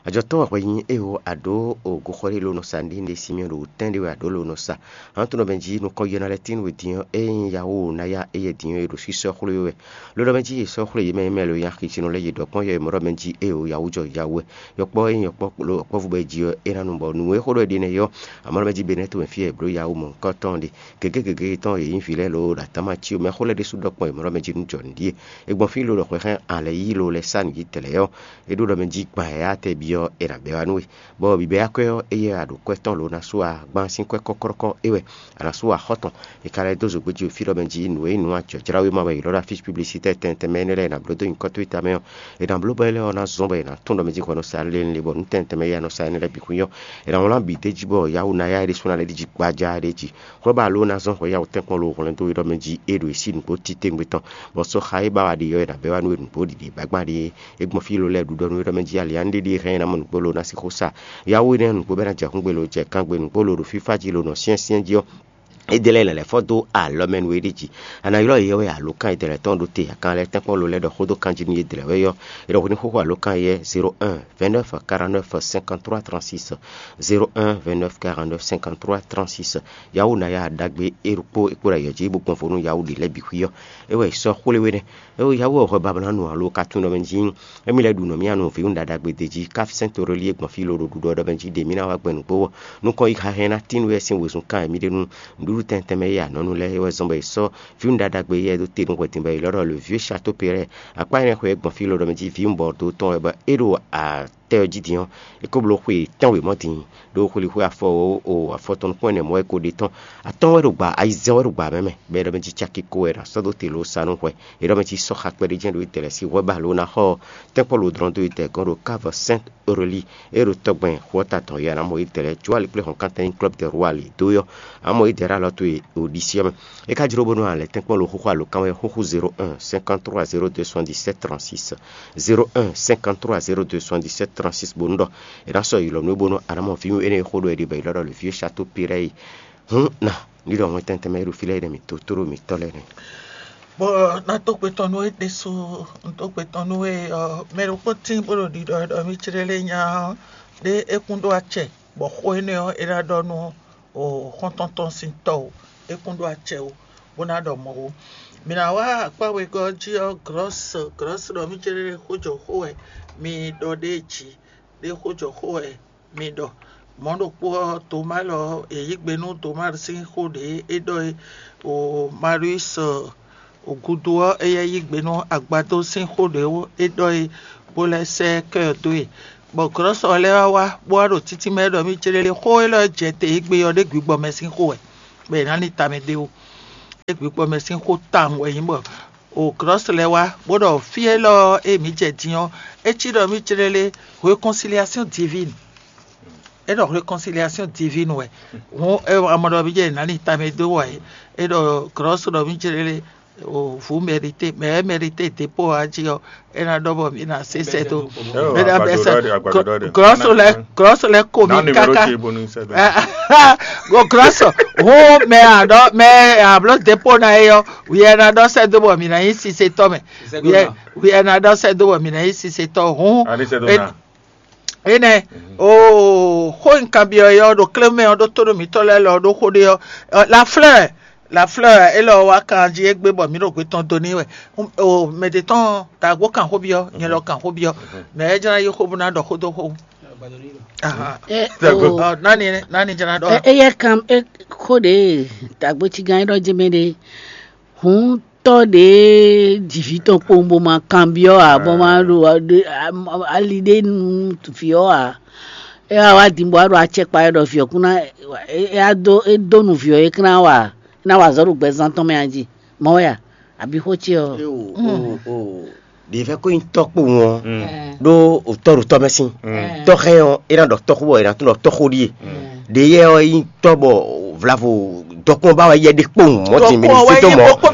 Ajɔtɔ́ wɛ hwɛ nyí é o àɖó o goxɔ́ ɖé ló nɔ sa ní ɖé Simeɔn ɖo tɛ́n ɖé wɛ àɖó ló nɔ sa. Hǎn to nɔ mɛ jí nukɔn yɛ́ ná lɛ́ tín we din ɔ́, é nyí Yawu Naya é yɛ din ɔ́ e ɖo sísɔ́ xwlé wɛ. Ló nɔ mɛ jí è sɔ́ xwlé yě mɛ e mɛ lo nyi axi sinɔ lɛ́ɛ yě ɖɔ kpɔ́n yɔ e mɔ ɖɔ mɛ jí é o Yawu jɔ Yawu wɛ. Yɔkpɔ́ e nyí yɔkpɔ́ yɔkpɔ́vú bɔ è ji ɔ́, é ná nu bɔ nǔ e xó ɖɔ é ɖe nɛ́ ɔ́, amɔ̌ nɔ mɛ jí Benɛ́to wɛ fí e è blǒ Yawu mɔ̌hunkɔtɔn ɔ́ ɖe. Gěgé gěgé tɔn yě nyí vǐ lɛ́ɛ loo ɖo atán ma cí o, mɛ xó lɛ́ɛ ɖésú ɖɔ kpɔ́n è mɔ ɖɔ mɛ jí nú jɔ nǔɖíe. È gbɔn fí lolo hwɛhɛn alɛ yí lo lɛ́ sá nǔ yí tɛlɛ̌ ɔ́, é ɖó ɖɔ mɛ jí gban yǎyá tɛ byɔ́ è nǎ bɛ́ wá nú we. Bɔ bǐbɛ́ akwɛ́ ɔ́, éyɛ́ a ɖo kwɛ́ tɔn lǒ ná sú a gbán sín kwɛ́ kɔ́kɔ́kɔ́ é wɛ, a nǎ sú axɔ́ tɔn. È ka lɛ́ dó zǒgbé jí fí ɖɔ mɛ jí nǔ e nyí nǔ ajɔ̌jláwéma wɛ è ylɔ́ ɖɔ afísi publisitɛ́ tɛntɛn mɛ énɛ́ lɛ́ɛ è nǎ bló dó nyǐkɔ towe tamɛ ɔ́, è nǎ bló bɔ é lɛ́ɛ ɔ́ ná zɔ́n bɔ è nǎ tunwun ɖɔ mɛ jí hwɛ nɔ sa lé lé bɔ nú tɛntɛn mɛ éyɛ́ a nɔ sa énɛ́ lɛ́ɛ bǐ xwín ɔ́, è nǎ wlán bǐ d'é jí bɔ Yawu Naya é ɖésú ná lɛ́ ɖi jí gbájá ɖé jí. Hwɛ ba ló ná zɔ́n hwɛ Yawu tɛ́nkpɔ́n lo hwlɛ́n dó we ɖɔ mɛ jí é ɖo e sí nǔgbó titewungbe tɔn, bɔ sɔ́ xa e ba wa ɖe ɔ́, è nǎ bɛ́ wá nú we nǔgbó ɖiɖi gbagban ɖé. É gbɔn fí lo lɛ́ɛ ɖu ɖɔ nú we ɖɔ mɛ jí ali ǎ ní ɖé ɖíe hɛn é ná mɔ nǔgbó lo ná sixú sa. Yawu énɛ́ nǔgbó bɛ́ ná jɛ húngbe lo jɛ kangbe nǔgbó lo ɖo fífá jí lo nɔ syɛ́nsyɛ́n jí ɔ́, édɛ́ lɛ́ɛ è nǎ lɛ́ fɔ́ dó alɔ mɛ nú we ɖé jí. A nǎ ylɔ́ yě wɛ alǒkan e dɛ̌lɛ́ tɔn ɖó te akan lɛ́ɛ tɛ́nkpɔ́n lo lɛ́ɛ ɖɔ xó dó kanjí nú yě dlɛ̌ wɛ ɔ́, è ɖɔ hwenu xóxó alǒkan éyɛ́ zéro un, vingt-neuf, quarante-neuf, cinquante-trois, trente-six, zéro un, vingt-neuf, quarante-neuf, cinquante-trois, trente-six. Yawu Naya ɖagbe é ɖokpó é kpo ɖo ayǐ ɔ́ jí bó gbɔn vo nú Yawu ɖě lɛ́ɛ bǐ xwí ɔ́, é wɛ è sɔ́ xwlé we nɛ́. É wɛ Yawu ɔ́ hwɛ babla nú alo ka tunwun ɖɔ mɛ jí émí lɛ́ɛ ɖu nɔ mì anu vǐwun ɖaɖagbe d'é jí ká sɛ́n toɖolí e gbɔn fí lo ɖo ɖuɖɔ ɖɔ mɛ jí ɖě mì ná wá gbɛn nǔgbó ɔ́, nukɔn yi xaxɛn ná tín nú é sín wezun kan e mì ɖe nú nǔɖuɖu tɛntɛn mɛ e anɔ̌nu lɛ́ɛ é wɛ zɔ́n bɔ è sɔ́ vǐwun ɖaɖagbe éyɛ́ ɖó te nú hwɛdin bɔ è ylɔ́ ɖɔ le vieux château péré. Akpá énɛ́ xwe e gbɔn fí lo ɖɔ mɛ jí vǐwun bɔ do tɔn wɛ bɔ é ɖo atɛ ɔ́ jí din ɔ́, é ko bló xwe tɛ́nwe mɔ̌ din ɖó xwelixwé afɔ o afɔ tɔn nukún ɛnɛ mɔ̌ wɛ ko ɖe tɔn. Atɔ́ɔ́n wɛ ɖo gba ayizɛ́n wɛ ɖo gba mɛ mɛ, bɔ é ɖɔ mɛ jí caki ko wɛ è nǎ sɔ́ dó te lǒ sa nú hwɛ. É ɖɔ mɛ jí sɔ́ xa kpɛɖé jɛ́n ɖo itɛlɛ sín hwɛ ba lǒ ná xɔ tɛ́nkpɔ́ lo dlɔ́n dó itɛ gɔ́n ɖo Cave Sainte Aurélie e ɖo tɔgbɛn xu ɔ́ ta tɔn é a nǎ mɔ itɛlɛ jó ali kplé hɔn kántɛn nyí Club de Roi ali dó ɔ́, a nǎ mɔ idɛ̌ ɖo alɔ towe Odisíɔ mɛ. É ka jló bónú a lɛ̌ tɛ́nkpɔ́n lo xóxó alǒkan wɛ xúxú zéro un, cinquante-trois, zéro deux, soixante-dix-sept, trente-six, zéro un, cinquante-trois, zéro deux, soixante-dix-sept, trente-six bónú ɖɔ è nǎ sɔ́ yi lɔ nú é bónú a nǎ mɔ vǐwun énɛ́ e xó ɖɔ è ɖe bɔ è ylɔ́ ɖɔ le vieux château péré yi. Hǔn ná ní ɖɔ wɛn tɛntɛn mɛ e ɖo fí lɛ́ɛ é nɛ́ mǐ tó tló mǐtɔn lɛ́ɛ nɛ́. Bɔ ná dó gbe tɔn nú we ɖésú, un dó gbe tɔn nú we ɔ́, mɛ ɖokpó tín bó ɖo ɖiɖɔ ɖɔ mì céɖé lé nya ɔ́, ɖé é kún ɖó acɛ, bɔ xó énɛ́ ɔ́, é ná ɖɔ nú xɔ́ntɔn tɔn sín tɔ́ o, é kún ɖó acɛ o, bó ná ɖɔ mɔ̌ ó. Mǐ ná wá akpá wegɔ́ ɔ́ jí ɔ́, Glɔ̌s, Glɔ̌s ɖɔ mì céɖé lé xójɔxó wɛ mi ɖɔ ɖ'é jí, ɖé xójɔxó wɛ mi ɖɔ. Mɔ̌ ɖokpó ɔ́, Tomáa lɔ è yí gbe nú Tomáa sín xó ɖě é ɖɔ é o Marius o gúdo ɔ́, éyɛ́ yí gbe nú agbadó sín xó ɖě é ɖɔ é bó lɛ́ sɛ́ kɛ́ ɔ́ dó e. bɔ glɔ́sɔ lɛ́ɛ wá wá bó wá ɖo títí mɛ ɖɔ mì céɖéɖé xó élɔ́ jɛ te égbé ɔ́ ɖé gbǐgbɔ mɛ sín xó wɛ, bɔ è nǎ ní tamɛ d'é wú. Ɖé gbǐgbɔ mɛ sín xó tawun wɛ nyí bɔ o glɔ́sɔ lɛ́ɛ wá bó ɖɔ fí élɔ́ e mǐ jɛ din ɔ́, é cí ɖɔ mì céɖéɖé réconciliation divine. É ɖɔ réconciliation divine wɛ. Hǔn é wá mɔ ɖɔ mì jɛ è nǎ ní tamɛ dó wɛ. É ɖɔ glɔ́sɔ ɖɔ mì céɖéɖé o vous méritez, mais elle mérite dépôt ɔ́ jí ɔ́, é ná ɖɔ bɔ mǐ ná se sɛ́ dó. Mǐ ná bɛ́ sɛ́ glɔ́sɔ lɛ́ɛ glɔ́sɔ lɛ́ɛ ko mǐ káká. Go glɔ́sɔ hǔn mɛ aɖɔ mɛ ablɔ dépôt ná é ɔ́, wǐ ɛ ná ɖɔ sɛ́ dó bɔ mǐ ná nyí sisetɔ́ mɛ. Wǐ ɛ ná ɖɔ sɛ́ dó bɔ mǐ ná nyí sisetɔ́ hǔn. Énɛ́, oo xó e un kanbyɔ́ é ɔ́ ɖo klémɛ ɔ́ ɖó tónú mǐtɔn lɛ́ɛ lɔ ɖó xó ɖé ɔ́, la fleur, la fleur élɔ́ wá kan jí égbé bɔ mǐ ɖo gbé tɔn dó n'i wɛ. O mɛ ɖě tɔn dǎgbó kan xó byɔ́, nyɛ lɔ kan xó byɔ́, mɛ ɛ jlá yi xó bó ná ɖɔ xó dó xó. Ahan. Ɔ, nani nani jlá ɖɔ. Eyɛ kan xó ɖě dǎgbó cigán é ɖɔ jɛ mɛ ɖé. Hǔn tɔ́ ɖě ji vǐ tɔn kpowun bó ma kanbyɔ́ ǎ, bó ma ɖo ali ɖé nú vǐ ɔ́ ǎ. É wá wá din bó wá ɖo acɛkpa wɛ ɖɔ vǐ ɔ́ kún ná é wá dó é dó nu vǐ ɔ́ é kún ná wa é ná wa azɔ̌ ɖo gbɛzán tɔn mɛ a jí mɔ̌ wɛ a? Abǐ xó ce ɔ́? Ɖě vɛ́ ko nyí tɔ́ kpowun ɔ́ ɖó tɔ́ ɖo tɔ́ mɛ sín. Tɔ́ hɛn ɔ́, é ná ɖɔ tɔ́xó bɔ è nǎ tunwun ɖɔ tɔ́xó ɖíe. Ɖě yɛ ɔ́ nyí tɔ́ bɔ vlavo dɔkun ɔ́ ba wɛ yɛ ɖe kpowun mɔ̌ din mɛ ɖo fí tɔn mɔ̌.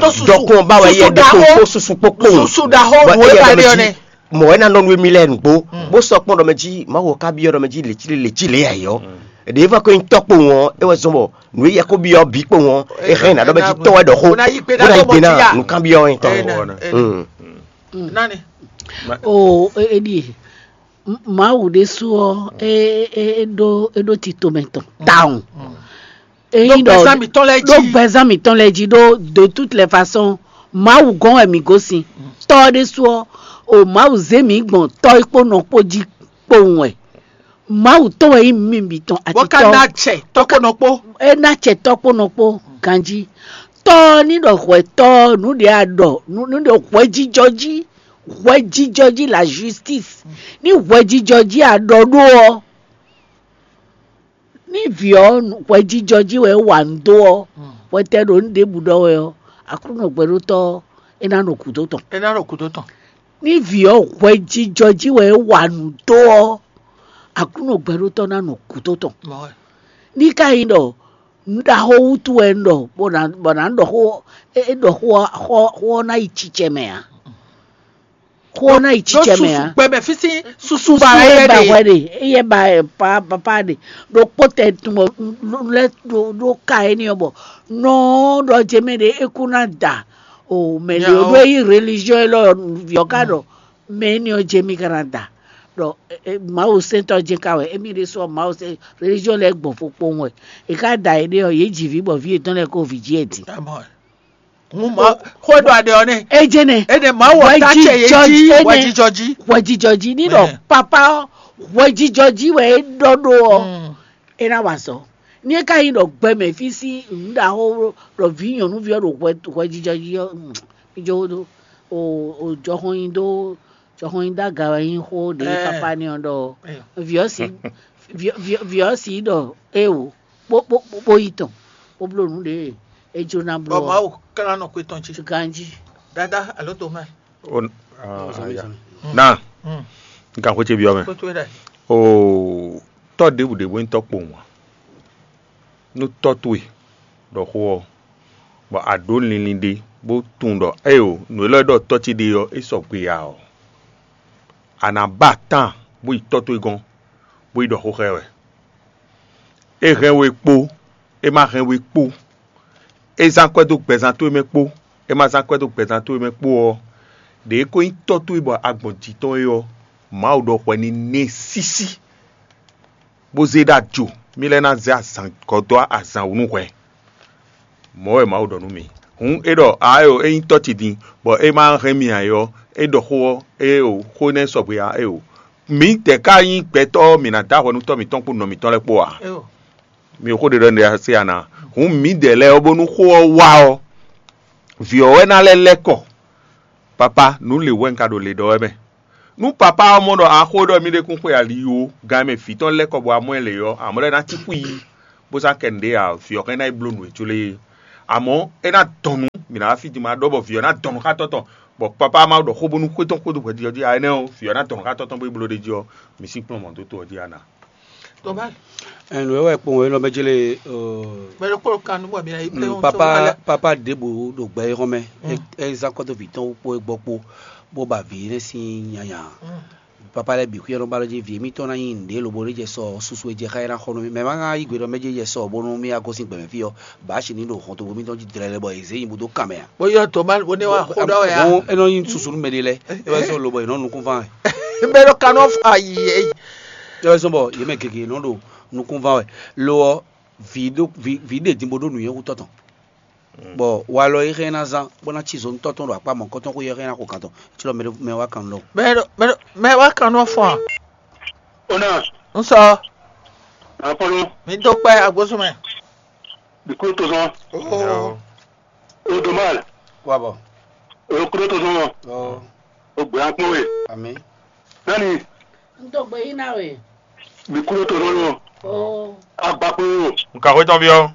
Dɔkun ɔ́ ba wɛ yɛ ɖe kpowun kpó susu kpó kpowun. Susu ɖaxó Bɔ nǔ e éyɛ́ ba ɖɔ ɖe mɛ ɔ́ jí nɛ́. Mɔ̌ wɛ ná nɔ nú émí lɛ́ɛ nǔgbó, bó sɔ́ kpɔ́n ɖɔ mɛ jí Mawu ɔ́ ka byɔ́ ɖɔ mɛ jí lě cí lě cí lě ǎ é ɔ́. Ɖě é vɛ́ ko nyí tɔ́ kpowun ɔ́, é wɛ zɔ́n bɔ nǔ e yɛ ko byɔ́ bǐ kpowun ɔ́, é hɛn ná ɖɔ mɛ jí tɔ́ wɛ ɖɔ xó, bó ná yí gbe ná nǔkanbyɔ́ ɔ́ nyí tɔ́. Nani. M- Mawu ɖésú ɔ́, é é é ɖó é ɖó tito mɛ tɔn tawun. Ényí ɖɔ gbɛzán mǐtɔn lɛ́ɛ jí. Ɖó gbɛzán mǐtɔn lɛ́ɛ jí ɖó de toute les façons, Mawu gɔ́n wɛ mǐ gosín. Tɔ́ ɔ́ ɖésú ɔ́, o Mawu zé mǐ gbɔn tɔ́ é kpó nɔ kpó jí kpowun wɛ. Mawu tɔn wɛ nyí mǐ bǐ tɔn atitɔ́. Bó ka ná acɛ tɔ́ kpó nɔ kpó. É ná acɛ tɔ́ kpó nɔ kpó ganjí. Tɔ́ ɔ́ ní ɖɔ hwɛtɔ́ nǔ ɖě a ɖɔ nǔ ní ɖɔ hwɛjijɔ jí, hwɛjijɔ jí la justice. Ní hwɛjijɔ jí a ɖɔ ɖó ɔ́, ní vǐ ɔ́ hwɛjijɔ jí wɛ é wa nǔ dó ɔ́, hwɛtɛ́ ɖo nǔ ɖěbǔ ɖɔ wɛ ɔ́, Aklúnɔ gbɛɖótɔ́ ɔ́, é ná nɔ gǔdo tɔn. É ná nɔ gǔdo tɔn. Ní vǐ ɔ́ hwɛjijɔ jí wɛ é wa nǔ dó ɔ́, Aklúnɔ gbɛɖótɔ́ ná nɔ gǔdo tɔn. Ní ka nyí ɖɔ nǔ ɖaxó wútu wɛ un ɖɔ bɔ nǎ bɔ nǎ ɖɔ xó é é ɖɔ xó ɔ́ xó xó ɔ́ ná yi cicɛ mɛ ǎ. Xó ɔ́ ná yi cicɛ mɛ ǎ. Gbɛmɛ fí sín susu ba wɛ yɛ ɖe. Hwɛ ɖe, éyɛ́ ba ɛ pa papa ɖe ɖokpó tɛ tun bɔ lɛ ɖo ɖo ka éní ɔ́ bɔ nɔ ɖɔ jɛ mɛ ɖe é kú ná da o mɛ ɖe o ɖó é yí religion élɔ́ vǐ ɔ́ ka ɖɔ mɛ éní ɔ́ jɛ mì ka ná da ɖɔ Mawu sɛntɔ́ jɛ ka wɛ émí ɖésú ɔ́ Mawu sɛn religion lɛ́ɛ gbɔn fokpowun wɛ è ká da éɖée ɔ́ yě ji vǐ bɔ vǐ yětɔn lɛ́ɛ kó vǐ jí ɛ din. Hun ma xó e ɖɔ aɖe ɔ́ nɛ. Ejene. Ene ma wɔ ta cɛ ye ji wɛjijɔ ji. Wɛjijɔ ji ní ɖɔ papa ɔ́ wɛjijɔ ji wɛ é ɖɔ ɖó ɔ́ é ná wa azɔ̌. Ní é ka nyí ɖɔ gbɛmɛ fí sín nǔɖaxó ɖɔ vǐ nyɔ̌nuví ɔ́ ɖo hwɛjijɔ ji ɔ́, mi jó ɖó o jɔxɔn nyi dó jɔxɔn nyi dó aga wɛ nyí xó ɖě papa ní ɔ́ ɖɔ vǐ ɔ́ sí vǐ ɔ́ sí ɖɔ éwo bó bó bó yi tɔn bó bló nǔ ɖě é jló ná bló. Bɔ Mawu klán nɔ xwé tɔn jí. Ganjí. Dada alo tomɛ. Na n ka xwé ce byɔ́ mɛ. Xwé towe ɖɛ. Oo, tɔ́ ɖěbǔ ɖě bó nyí tɔ́ kpowun ǎ. Nú tɔ́ towe ɖɔ xó ɔ́, bɔ a ɖǒ linlin ɖé bó tunwun ɖɔ éyo nǔ élɔ́ e ɖɔ tɔ́ ce ɖe ɔ́, é sɔgbe ǎ ɔ́, a nǎ ba tán bó yi tɔ́ towe gɔ́n, bó yi ɖɔ xó xá ɛ wɛ. É hɛn we kpó, é ma hɛn we kpó, é zán akwɛ́ dó gbɛzán towe mɛ kpó, é ma zán akwɛ́ dó gbɛzán towe mɛ kpó ɔ́, ɖě é ko nyí tɔ́ towe bɔ a gbɔn jǐ tɔn é ɔ́, Mawu ɖɔ hwɛ ní nɛ́ sísí, bó zé ɖó ajo, mì lɛ́ ná zé azǎn gɔ́ dó azǎn wú nú hwɛ. Mɔ̌ wɛ Mawu ɖɔ nú mì. Hǔn é ɖɔ ǎ é o, é nyí tɔ́ ce din, bɔ é ma hɛn mì ǎ é ɔ́, é ɖɔ xó ɔ́, é o, xó énɛ́ sɔgbe ǎ é o. Mǐdɛɛ ka nyí gbɛtɔ́ ɔ́, mǐ ná dó ahwɛ nú tɔ́ mǐtɔn kpó nɔ mǐtɔn lɛ́ɛ kpó ǎ. Mi xó ɖe ɖɔ un ɖe se a nǎ. Hǔn mǐdɛɛ lɛ́ɛ ɔ́, bónú xó ɔ́ wá ɔ́, vǐ ɔ́ wɛ ná lɛ́ lɛ́ kɔ. Papa, nǔ lě wɛ un ka ɖo le ɖɔ wɛ mɛ. Nú papá ɔ́ mɔ ɖɔ a xo ɖɔ mì ɖe kún xwe ali ó, gan e mɛ vǐ tɔn lɛ́ kɔ bɔ a mɔ ɛ lě ɔ́, amɔ̌ lɛ́ ná cí xwí, bó sá kɛ nǔɖé ǎ, vǐ ɔ́ hɛn ná yi bló nǔ e jló e. Amɔ̌ é ná dɔn nǔ, mǐ ná wá fí din ma ɖɔ bɔ vǐ ɔ́ ná dɔn nǔ xá tɔ́ tɔn, bɔ papá ɔ́ ma ɖɔ xó bónú xwé tɔn xwedó hwɛjijɔ jí ǎ, énɛ́ ɔ́, vǐ ɔ́ ná dɔn nǔ xá tɔ́ tɔn bó yi bló ɖ'é jí ɔ́, mǐ sín kplɔ́n mɔ̌ dó to ɔ́ jí a nǎ. Tɔ́ má. Ɛn, nǔ e wɛ kpɔn é nɔ mɛ jlé, Mɛ ɖokpó kan nú bɔ mi ná yi pléwɔn. Papa, papa ɖěbǔ ɖo gbɛ é xɔmɛ, é zán kɔ́tɔ́ví tɔn kpó é gbɔ kpó, bó ba vǐ énɛ́ sín nyanya. Papa lɛ́ɛ bǐ xwíyɔ́ nɔ ba ɖó jí vǐ émítɔn ná nyí nǔɖé lobo ɖé jɛ sɔ susu e jɛ xá é ná xɔ nú mì. Mɛ ma ná yí gbe ɖɔ mɛ jɛ sɔ bónú mì wá gosín gbɛmɛ fí ɔ́, bǎ sin ní ɖo hɔntogbó mítɔn jí dlɛ́ lɛ́ bɔ è zě nyi bó dó kan mɛ ǎ. Bó yɔ dǒ má bó ní wá xó ɖɔ wɛ ǎ. Bó é nɔ nyí susu nú mɛ ɖé lɛ́ɛ, é wɛ zɔ́n lobɔ è nɔ nukúnfán wɛ. Bɛ ɖo kanú ayi. É wɛ zɔ́n bɔ yě mɛ gěgé nɔ ɖo nukúnfán wɛ. Lo ɔ́, vǐ ɖo vǐ vǐ ɖe din bó ɖó nǔnywɛ́ xú tɔ́ tɔn. Bɔ walɔ e xɛ ná zán bó ná cí zo nú tɔ́ tɔn ɖo akpá mɔ̌kɔtɔn xwé ɔ́ xɛ ná xo kan tɔn. Cílɔ mɛ ɖo mɛ wá kan nɔ. Mɛ ɖo mɛ ɖo mɛ wá kan nɔ fɔn. Ona. N sɔ. Akɔnɔ. Mi dó kpɛ agbósùnmɛ. Bikú tó sɔn. Oo. O domal. Wabɔ. O kúrò tó sɔn. Oo. O gbɛ akpɔn we. Ami. Nani. N tó gbé yín ná we. Bikú tó sɔn. Oo. Agbakpo. Nka xwé tɔn byɔ́.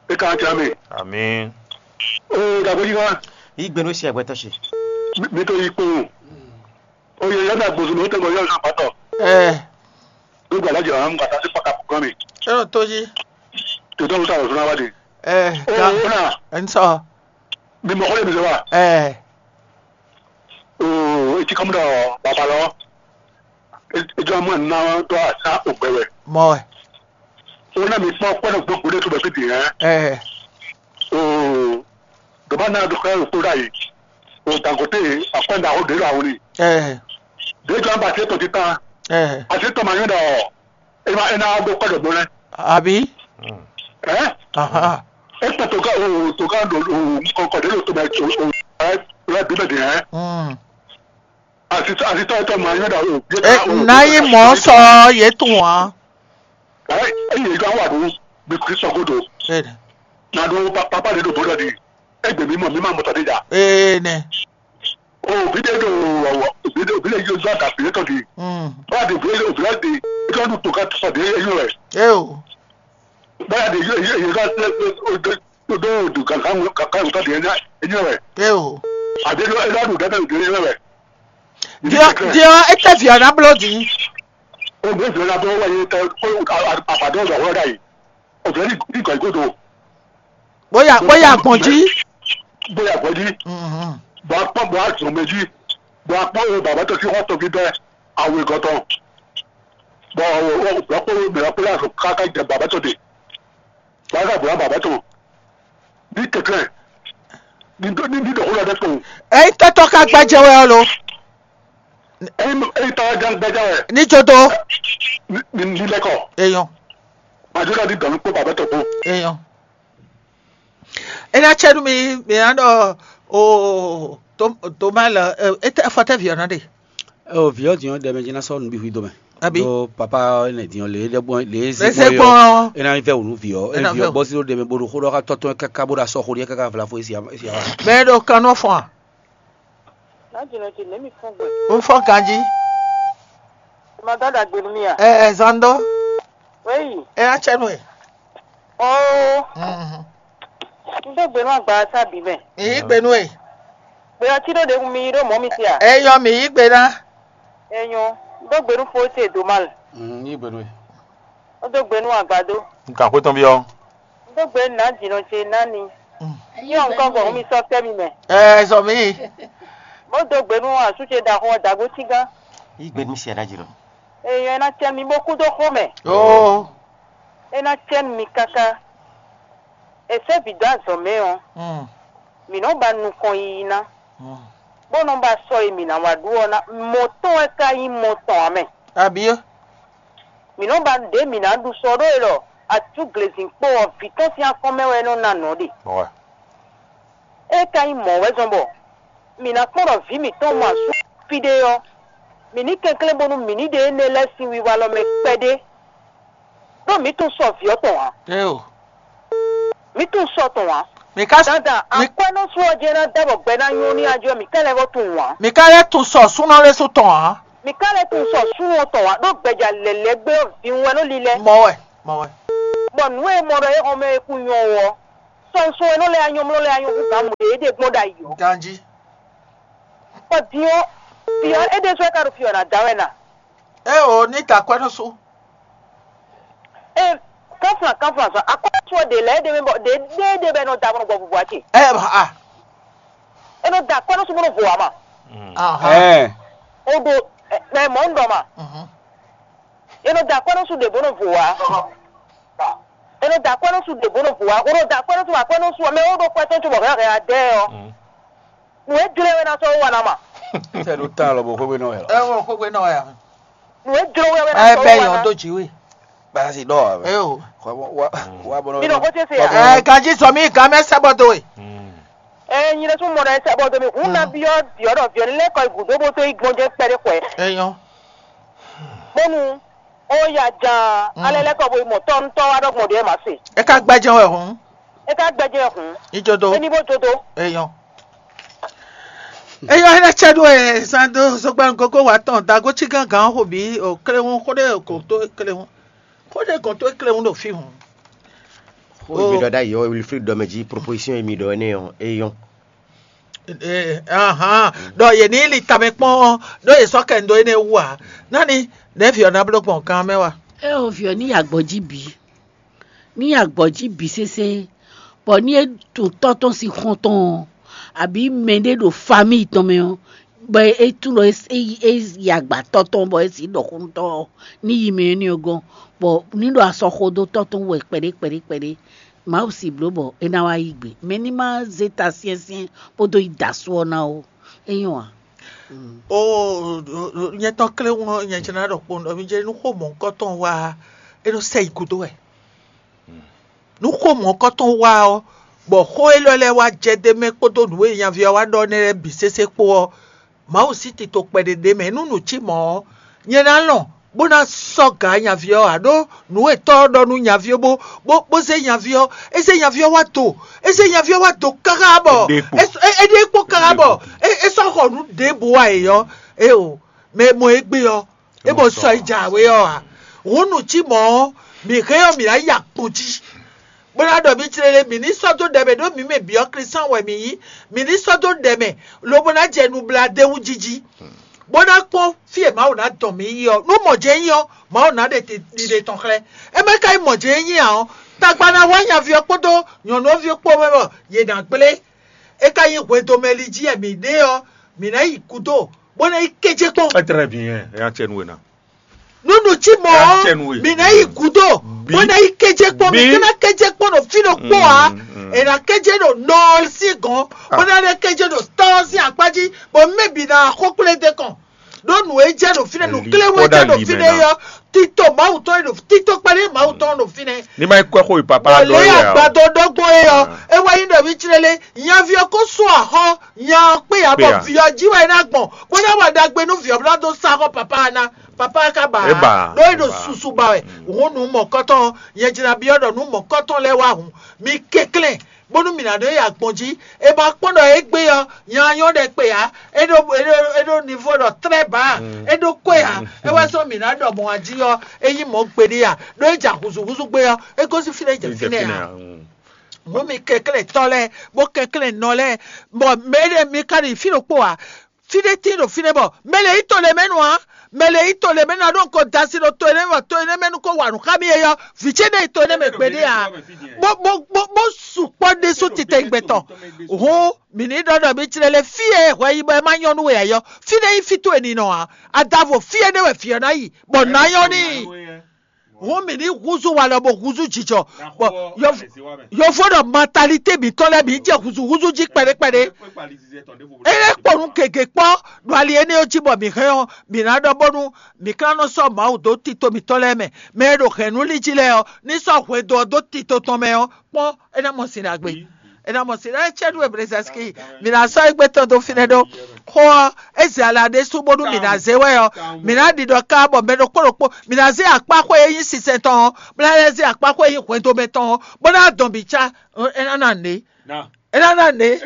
E kan tsa mi. Ami. O dagbo yín ná. Yí gbé nú sí ẹgbẹ́ tɔn ṣe. Mi tó yí kpó. Oye yɛn na gbozun mi tɛgbɛ yɛn na patɔ. Ɛ. Gbogbo alájọ àwọn mú kàtà sí pàkà kúkọ mi. Ẹ ò tó yí. Tòótọ́ ló sàrò fúnra wá di. Ẹ. Ó ga. Ó nà. Ẹ ń sọ. Mi mọ̀ kọ́lé mi sọ wa. Ẹ. O etí kọ́mú dọ̀ bàbá lọ. Ejò ọmọ nà tó àṣà ògbẹ̀wẹ̀. Mọ̀ ẹ. Ó nà mi kpọ́ kpọ́nà gbogbo lé tó bẹ̀ fi dì hẹ́n. Ẹ. O dɔ̀bá náà dɔ̀kọ́ yà ló kó dà yìí. O dàgọ́tẹ́ àpẹ́ńdà ó dé lọ àwọn ni. Ẹ. Dèjọ́ àgbà àti ètò títà. Ẹ. Àti ètò màá yín dà ọ́. Ẹ máa ẹ náà gbọ́ kọ́ dọ̀gbọ́n rẹ. Àbí? Ẹ? Aha. Ẹ tẹ̀ tó ká o tó ká dọ̀ o kọ̀kọ̀ dé lò tó bẹ̀ o o ẹ lọ bí bẹ̀ dì ẹ́. Mm. Àti àti tọ́ ẹ tọ́ màá yín dà o. Ẹ, náyí mọ̀ ọ́ sọ yé tún wá. Ẹ ẹ yẹ ká wà dùn bí Kristo kó do. Bẹ́ẹ̀ni. Nà dùn papa de do bọ́dọ̀ di. Ẹ gbẹ̀mí mọ̀ mí máa mọ̀ tọ́ dé jà. Ee nẹ. O vide do vide do vide yo zɔ da vide tɔ di. Mm. Ba de vide vide de e tɔ nu to ka sɔ de e yɔ ɛ. Eo. Ba de yo yo yo ka do do do ka ka ka ka de e yɔ ɛ. Eo. A de do e do da de e yɔ ɛ. Diɔ diɔ e tɛ vi ɔna blo di. O bɛ vide na bɔ wa ye tɛ ko a ba dɔ dɔ wɔ da yi. O vide ni ni kɔ ikodo. Bóyá bóyá gbọ̀n jí. Bóyá gbɔn jí. Mhm. Bɔ akpɔ bɔ azɔn mɛ jí. Bɔ akpɔ wo baba tɔ fi xɔ tɔ fi bɛ awe gɔtɔ. Bɔ wo wo bɔ akpɔ wo bɛ akpɔ la so kaka jɛ baba tɔ de. Baba bɔ baba tɔ. Ni kɛkɛ. Ni do ni ni dɔkɔ la dɛ kɔ. Eyi tɔtɔ ka gbajɛ wɛ ɔlo. Eyi eyi tɔ jan gbajɛ wɛ. Ni jodo. Ni ni lɛ kɔ. Eyɔn. Majo la di dɔn kpɔ baba tɔ kpɔ. Eyɔn. E ná cɛ nú mi, mi ná ɖɔ o to to ma lɔ e tɛ fɔ tɛ vi ɔ́ nɔ ɖe. O vǐ ɔ́ din ɔ́ ɖɛ mɛ jí ná sɔ́ nǔ bǐ hu i dó mɛ. Abi. Ɖó papa ɔ́ nɛ din ɔ́ lě é ɖɛ gbɔn lě é zé Lě é zé gbɔn gbɔn ɔ́. Ɔ́. É ná vɛ wǔ nú vǐ ɔ́. É É ná vǐ ɔ́ vɛ wǔ. Bɔ́ sí ɖó ɖɛ mɛ bó ɖo xó ɖɔ xá tɔ́ tɔn káká bó ɖo asɔ xó ɖíe káká vlafo é sia é sia wá. Mɛ e ɖo kan nɔ fɔn a? Ná jìnnà jì lěmi fún gbè. Ń fɔn ganjí. Ẹ máa dá dàgbé nú mì à? Ɛ ɛ zan dó. Wéyì. Ɛ ná tsɛ nú ɛ. Oo. Mhm. N dó gbe nú agba sábì mɛ. Èyí gbe nú ẹ. Gbe ɔtí ɖó ɖe mi ɖó mɔ̌ mi ti à? Ẹ yɔ mì yí gbe ná. Ẹ nyɔ. N dó gbe nú fó ce dó má lɛ. Mm, yí gbe nú ẹ. Ó dó gbe nú àgbàdo. N kà xwé tɔn byɔ́. N dó gbe nú nǎ jǐnɔ ce ná ni. Mm. Yɔ nǹkan gbɔn mi sɔ́ kpɛ́ mi mɛ. Ɛ sɔ mi. Bó dó gbe nú asú ce ɖaxó ɔ́ dàgbó tígán. Yí gbe nú siaɖa jǐnɔ. Èèyàn ẹ ná tɛ mi bó kú dó xó mɛ. Oo. É ná tɛ mi káká. È sɛ́ vǐ dó azɔ̌ mɛ ɔ́, Mm. Mǐ nɔ́ ba nukɔn yiyi ná, Mm. Bó nɔ́ ba sɔ e mǐ ná wá ɖu ɔ́ ná. Mɔ tɔn wɛ ka nyí mɔ tɔn ǎ mɛ. Abǐ. Mǐ nɔ́ ba ɖě mǐ ná ɖu sɔ ɖó e ɖɔ atúglezínkpo ɔ́, vǐ tɔn sín akɔ́n mɛ wɛ é nɔ́ ná nɔ̌ ɖe. Wɛ. É ka nyí mɔ̌ wɛ zɔ́n bɔ mǐ ná kpɔ́n ɖɔ vǐ mǐtɔn mɔ asú fí ɖé ɔ́, mǐ ní kɛnklɛ́n bónú mǐ ní ɖe énɛ́ lɛ́ɛ sín wiwa lɔ mɛ kpɛɖé, ɖó mǐ tunwun sɔ vǐ ɔ́ tɔn ǎ. Éeǒ. Mǐ tunwun sɔ tɔn ǎ. Mi ka Dada, mi akwɛ́nɔ́ sú ɔ́ jɛ́n ná dá bɔ gbɛ ná nyɔ́ ní ajɔ mǐ ká lɛ́ vɔ tunwun ǎ. Mi ka lɛ́ tunwun sɔ súnɔ lɛ́ɛ sú tɔn ǎ. Mǐ ká lɛ́ tunwun sɔ súnɔ tɔn ǎ, ɖó gbɛja lɛ̌lɛ́ gbé ɔ́ vǐ wɛ nɔ lílɛ́. Mɔ wɛ, mɔ wɛ. Bɔ nǔ e mɔ ɖɔ é xɔmɛ e kú nyɔ́ ɔ́, sɔnsɔn e nɔ lɛ́ anyɔ́mlɔ́ lɛ́ anyɔ́ hú gǎn mɔ ɖě é ɖe gbɔn ɖ'ayǐ ɔ́. Ganjí. Bɔ din ɔ́, fí ɔ́, é ɖésú é ka ɖo fí ɔ́ ná da wɛ na. É o, ní ta akwɛ́nɔ́ sú. Ee, kánflán kánflán sɔ akɔ́sɔ ɖě lɛ́ɛ ɖe mɛ bɔ ɖě ɖé ɖe bɛ nɔ da bɔ nɔ gbɔ bubua ce. Ɛ a. E nɔ da akɔ́ nɔ su bɔ nɔ vo ama. Ahan. Ɛ. O ɖo ɛ mɔ un ɖɔ ma. Mhm. E nɔ da akɔ́ nɔ su ɖe bɔ nɔ vo wa. E nɔ da akɔ́ nɔ su ɖe bɔ nɔ vo wa. O nɔ da akɔ́ nɔ su akɔ́ nɔ su mɛ o ɖo kpɛ tɔn tso bɔ hɛn hɛn adɛ ɔ. Nù e jlɛ wɛ na sɔ wa na ma. Sɛ ɖo ta lɔ bɔ xwé nɔ yɛ lɔ. Ɛ wɔ xwé nɔ ya. Nù e jlɛ wɛ wɛ na Ɛ sɔ bɛ wa yɔ na. Dó jì wé. Basi dɔ wa. Ɛ o. Wa wa wa bɔ. Bi nɔ ko tse se ya. Ɛ gaji sɔ mi gan mɛ sɛ bɔ do we. Ɛ nyi ɖe sún mɔ ɖe sɛ bɔ do mi. Hun na biɔ biɔ ɖɔ viɔ lɛ kɔ igu do bo to igbɔn jɛ kpɛ ɖe kɔɛ. Ɛ yɔ. Bonu o ya jan alɛ lɛ kɔ bo yi mɔ tɔ ntɔ wa ɖɔ gbɔn ɖe ma se. E ka gbɛjɛ wɛ hun. E ka gbɛjɛ hun. Ijodo. Eni bo jodo. Eyɔn. Eyɔn, ene cɛ ɖo e zan do zogban gogo wa tɔn dago ci gangan xo bi o kléhun xo ɖe kɔn to kléhun. Xo ɖe kɔn to kléhun ɖo fi hun. Xo mi ɖɔ ɖ'ayǐ ɔ́, Wilfried ɖɔ mɛ jí proposition e mi ɖɔ énɛ́ ɔ́, é nyɔ́. Ee, ahan, ɖɔ yě ní li tamɛ kpɔ́n ɔ́, ɖó yě sɔ́ kɛ ndo énɛ́ wú ǎ. Nani nɛ̌ vǐ ɔ́ ná bló gbɔn gan mɛ wa? É o, vǐ ɔ́ ní yi agbɔ̌ jí bǐ, ní yi agbɔ̌ jí bǐ sésé, bɔ ní é tunwun tɔ́ tɔn sín xɔ́n tɔn ɔ́, abǐ mɛɖé ɖo famíi tɔn mɛ ɔ́, bɔ é tunwun ɖɔ é yi agba tɔ́ tɔn bɔ é sixú ɖɔ xó nú tɔ́ ɔ́, ní yi mɛ énɛ́ ɔ́ gɔ́n, bɔ ní ɖo asɔ xo dó tɔ́ tɔn wú wɛ kpɛɖé kpɛɖé kpɛɖé. Mawu si bló bɔ é ná wá yí gbe. Mɛ ní má zé ta syɛ́nsyɛ́n bó dó yi da asú ɔ́ ná ó. É nyɔ́ ǎ. O nyɛ tɔn kléwún ɔ́, nyɛ jɛ ná ɖɔ kpowun ɖɔ mi jɛ nú xó mɔ̌hunkɔtɔn wá é nɔ sɛ yi gúdo wɛ. Nú xó mɔ̌hunkɔtɔn wá ɔ́, bɔ xó élɔ́ lɛ́ɛ wá jɛ d'é mɛ kpódó nǔ e nyaví ɔ́ wá ɖɔ nɛ́ lɛ́ɛ bǐ sésé kpó ɔ́, Mawu sín tito kpɛɖé ɖ'é mɛ. Nú nǔ cí mɔ̌ ɔ́, nyɛ ná lɔn bó ná sɔ́ gǎ nyaví ɔ́ ǎ, ɖó nǔ e tɔ́ ɔ́ ɖɔ nú nyaví ɔ́ bó bó bó zé nyaví ɔ́, é zé nyaví ɔ́ wá do, é zé nyaví ɔ́ wá do káká bɔ é ɖe kpo káká bɔ é sɔ́ xɔ nǔ ɖěbǔ wá e ɔ́, é o mɛ e mɔ égbé ɔ́, é mɔ sɔ e jǎwe ɔ́ ǎ. Hǔn nǔ cí mɔ̌ ɔ́, mǐ hɛn ɔ́, mǐ ná yi akpɔn jí. Bó ná ɖɔ mǐ clélé, mǐ ní sɔ́ dó ɖɛ mɛ, ɖó mǐ mɛ bǐ ɔ́, Klísan wɛ mǐ nyí. Mǐ ní sɔ́ dó ɖɛ mɛ, lobo ná jɛ nublaɖéwú jiji, bó ná kpɔ́n fí e Mawu ná dɔn mǐ yi ɔ́. Nú mɔ̌ jɛ́n nyí ɔ́, Mawu ná ɖe ɖiɖe tɔn xlɛ́. É mɛ ka nyí mɔ̌ jɛ́n nyí ǎ ɔ́, tagba ná wá nyaví ɔ́ kpódó nyɔ̌nu ɔ́ ví ɔ́ kpó mɛ bɔ yě ná gblé. É ka nyí hwedomɛli jí wɛ mǐ ɖe ɔ́, mǐ ná yi gúdo, bó ná yi kéjé kpɔ́n. Très bien, é nya cɛ nú we ná. Nunu cí mɔ ɔ́, mǐ ná yi gúdo, bó ná yi kéjé kpɔ́n, mǐ ká ná kéjé kpɔ́n ɖo fí ɖokpó ǎ. È nǎ kéjé ɖo nɔ ɔ́ sín gɔ̌n, bó ná lɛ́ kéjé ɖo tɔ́ ɔ́ sín akpá jí, bɔ mɛ bǐ ná xó kplé dé kɔn. Ɖó nǔ e jɛ ɖo fínɛ́, nǔ kléwé jɛ ɖo fínɛ́ ɔ́, tito Mawu tɔn e ɖo tito kpɛɖé Mawu tɔn ɖo fínɛ́. Ní ma yi kɔ xó yi papa ɖɔ lé é wɛ ɔ́. Agbadɔ ɖɔgbɔn é ɔ́, é wá nyí ɖɔ mí clélé, nyaví ɔ́ kó sú axɔ́ nya ɔ́ kpé ǎ, bɔ vǐ ɔ́ jí wɛ é ná gbɔn, bó ná wa ɖagbe nú vǐ ɔ́ bó ná dó sá xɔ papa ɔ́ ná. Papa ɔ́ ka ba ǎ, ɖó é ɖo susu ba wɛ. Hǔn nǔ mɔ̌kɔ́tɔn ɔ́, nyɛ jlá byɔ́ ɖɔ nǔ mɔ̌kɔ́tɔn lɛ́ɛ wá hǔn, mi kɛnklɛ́n, bónú mǐ ná ɖó yi agbɔn jí. È ma kpɔ́n ɖɔ égbé ɔ́, nya ɔ́ nyɔ́ ɖɛkpɛ ǎ, é ɖó é ɖó é ɖó nivo ɖɔ tlɛ́ bǎ, é ɖó kwɛ ǎ. É wɛ sɔ́ mǐ ná ɖɔ mɔ̌ jí ɔ́, é nyí mɔ̌ gbeɖé ǎ, ɖó é ja húzúhúzú gbé ɔ́, é gosín fínɛ́ é jɛ fínɛ́ ǎ. Nú mi kɛnklɛ́ntɔ́ lɛ́ɛ, bó kɛnklɛ́n nɔ lɛ́ɛ, bɔ mɛ ɖé mi ka ɖi fí ɖokpó ǎ. Fí ɖé tíin ɖo fínɛ́ bɔ mɛ lě nyí to ɖé mɛ nu ǎ. Mɛ lě nyí to ɖé mɛ nu ǎ, ɖó un ko da asi ɖo to énɛ́ mɛ bɔ to énɛ́ mɛ nu ko wa nǔ xá mì é ɔ́, vǐ ce ná yi to énɛ́ mɛ gbeɖé ǎ. Bó bó bó bó sukpɔ́ ɖésú titewungbe tɔn. Hǔn mǐ ní ɖɔ ɖɔ mǐ jlɛ́ lé fí e hwɛ yi bɔ é má nyɔ́ nú we ǎ é ɔ́, fínɛ́ nyí fí towe ninɔ ǎ. Adavo fí énɛ́ wɛ vǐ ɔ́ ná yi, bɔ nǎ nyɔ́ n'i. Hǔn mǐ ní húzú walɔ bó húzú jijɔ, bɔ yovo ɖɔ mentalité mǐtɔn lɛ́ɛ mǐ jɛ húzúhúzú jí kpɛɖé kpɛɖé. É lɛ́ kpɔ́ nú gěgé kpɔ́ ɖo ali énɛ́ ɔ́ jí bɔ mǐ hɛn ɔ́, mǐ ná ɖɔ bónú mǐ ka nɔ sɔ́ Mawu dó tito mǐtɔn lɛ́ɛ mɛ. Mɛ e ɖo hɛ̌nnu lí jí lɛ́ɛ ɔ́, ní sɔ́ hwɛndo ɔ́ dó tito tɔn mɛ ɔ́, kpɔ́n é ná mɔ sin ɖagbe. É ná mɔ sin ɖagbe cɛ́ nú Ebrezɛ́ski. Mǐ ná sɔ́ égbé tɔn dó fínɛ́ ɖó xó ɔ́, é zɛ ala ɖésú bónú mǐ ná zé wɛ ɔ́, mǐ ná ɖiɖɔ ká bɔ mɛ ɖokpó ɖokpó, mǐ ná zé akpáxwé e nyí sinsɛn tɔn ɔ́, bó ná lɛ́ zé akpáxwé e nyí hwɛndo mɛ tɔn ɔ́, bó ná dɔn bǐ cá, é ná ná nǔ. É ná ná nɛ.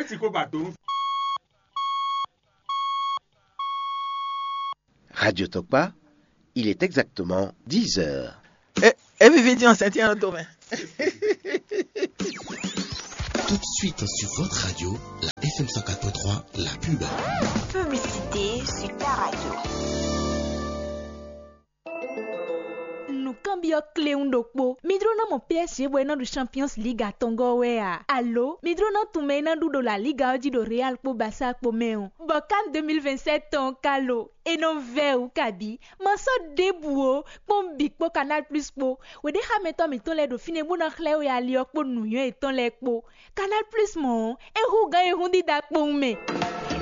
Radio Tokpa, il est exactement dix heures. É viví dín ɔ́ sɛn tín ɔ́ dó mɛ. Tout de suite sur votre radio, la F M cent quatre point trois, la pub. Publicité sur ta radio. Nǔkanbyɔ́ kléwún ɖokpó. Mi jló ná mɔ P S G bɔ é ná ɖu Champions League atɔngɔ́ wɛ a? Alo mi jló ná tunwun mɛ e ná ɖu ɖo La Liga ɔ́ jí ɖo Real kpó Barça kpó mɛ ɔ́? Bɔ CAN deux mille vingt-sept tɔn ɔ́ ka lo? É nɔ vɛ́ wǔ kabǐ. Ma sɔ́ ɖěbǔ ó, kpɔ́n bǐ kpó Canal Plus kpó. Wěɖéxámɛtɔ́ mǐtɔn lɛ́ɛ ɖo fínɛ́ bó ná xlɛ́ we ali ɔ́ kpó nǔnywɛ́ yětɔn lɛ́ɛ kpó. Canal Plus mɔ̌ ɔ́, é hú gǎn e hún dídá kpowun mɛ.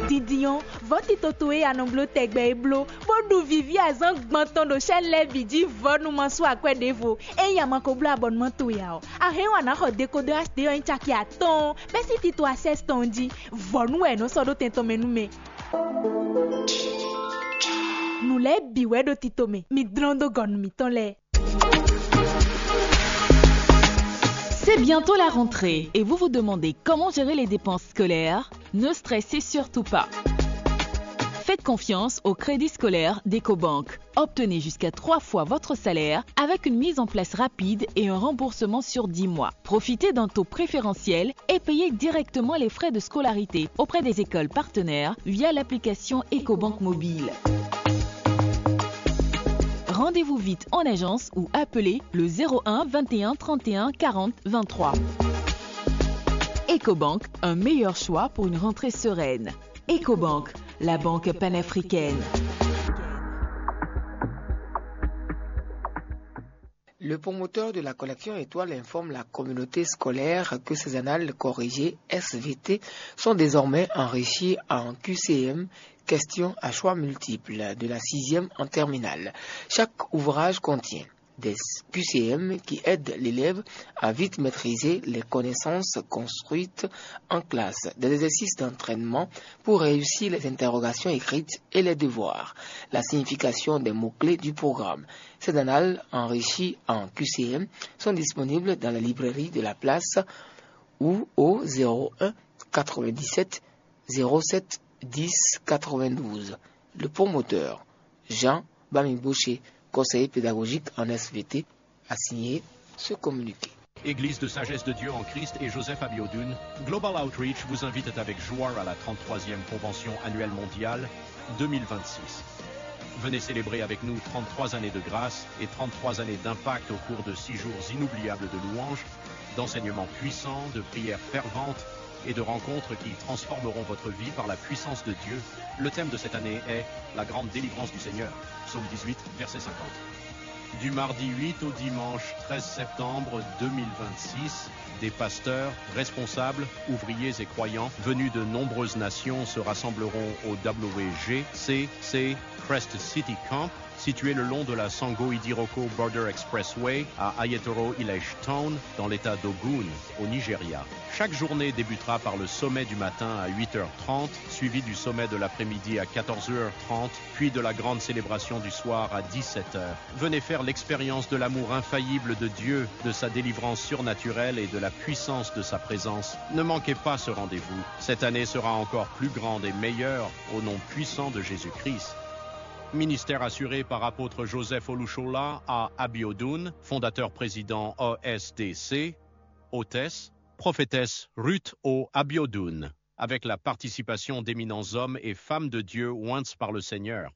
Dindin ɔ́, vɔ̌ tito towe e a nɔ bló tɛgbɛ é bló, bó ɖu vǐví azǎn gbɔn tɔn ɖo sɛ́n lɛ́ɛ bǐ jí vɔ̌ nu ma sú akwɛ́ ɖěvo. Ényí a ma ko bló abɔnumá towe ǎ ɔ́, a hɛn wǎn ná xɔ dekodɔ H D ɔ́ nyí caki atɔ́ɔ́n bɛ́ sín tito Access tɔn jí. Vɔ̌ nu wɛ è nɔ sɔ́ ɖó tɛn tɔn mɛ nú mɛ. Nǔ lɛ́ɛ bǐ wɛ ɖo tito mɛ. Mi dlɔ́n dó gɔ̌ nú mǐtɔn lɛ́ɛ. C'est bientôt la rentrée et vous vous demandez comment gérer les dépenses scolaires ? Ne stressez surtout pas. Faites confiance au Crédit scolaire d'Ecobank. Obtenez jusqu'à trois fois votre salaire avec une mise en place rapide et un remboursement sur dix mois. Profitez d'un taux préférentiel et payez directement les frais de scolarité auprès des écoles partenaires via l'application Ecobank Mobile. Rendez-vous vite en agence ou appelez le zéro un vingt et un trente et un quarante vingt-trois. Ecobank, un meilleur choix pour une rentrée sereine. Ecobank, la banque panafricaine. Le promoteur de la collection Étoile informe la communauté scolaire que ces annales corrigées S V T sont désormais enrichies en Q C M, questions à choix multiples, de la sixième en terminale. Chaque ouvrage contient des Q C M qui aident l'élève à vite maîtriser les connaissances construites en classe, des exercices d'entraînement pour réussir les interrogations écrites et les devoirs, la signification des mots-clés du programme. Ces annales enrichies en Q C M sont disponibles dans la librairie de la place ou au zéro un quatre-vingt-dix-sept zéro sept dix quatre-vingt-douze. Le promoteur, Jean Bamigboché, conseiller pédagogique en S V T, a signé ce communiqué. Église de Sagesse de Dieu en Christ et Joseph Abiodun, Global Outreach vous invite avec joie à la trente-troisième Convention annuelle mondiale deux mille vingt-six. Venez célébrer avec nous trente-trois années de grâce et trente-trois années d'impact au cours de six jours inoubliables de louanges, d'enseignements puissants, de prières ferventes et de rencontres qui transformeront votre vie par la puissance de Dieu. Le thème de cette année est la grande délivrance du Seigneur, psaume dix-huit, verset cinquante. Du mardi huit au dimanche treize septembre deux mille vingt-six, des pasteurs, responsables, ouvriers et croyants venus de nombreuses nations se rassembleront au W G C C Crest City Camp, situé le long de la Sango Idiroko Border Expressway à Ayetoro Ilage Town, dans l'état d'Ogun, au Nigeria. Chaque journée débutera par le sommet du matin à huit heures trente, suivi du sommet de l'après-midi à quatorze heures trente, puis de la grande célébration du soir à dix-sept heures. Venez faire l'expérience de l'amour infaillible de Dieu, de sa délivrance surnaturelle et de la puissance de sa présence. Ne manquez pas ce rendez-vous. Cette année sera encore plus grande et meilleure au nom puissant de Jésus-Christ. Ministère assuré par apôtre Joseph Olushola à Abiodun, fondateur président O S D C, hôtesse, prophétesse Ruth O Abiodun, avec la participation d'éminents hommes et femmes de Dieu oints par le Seigneur.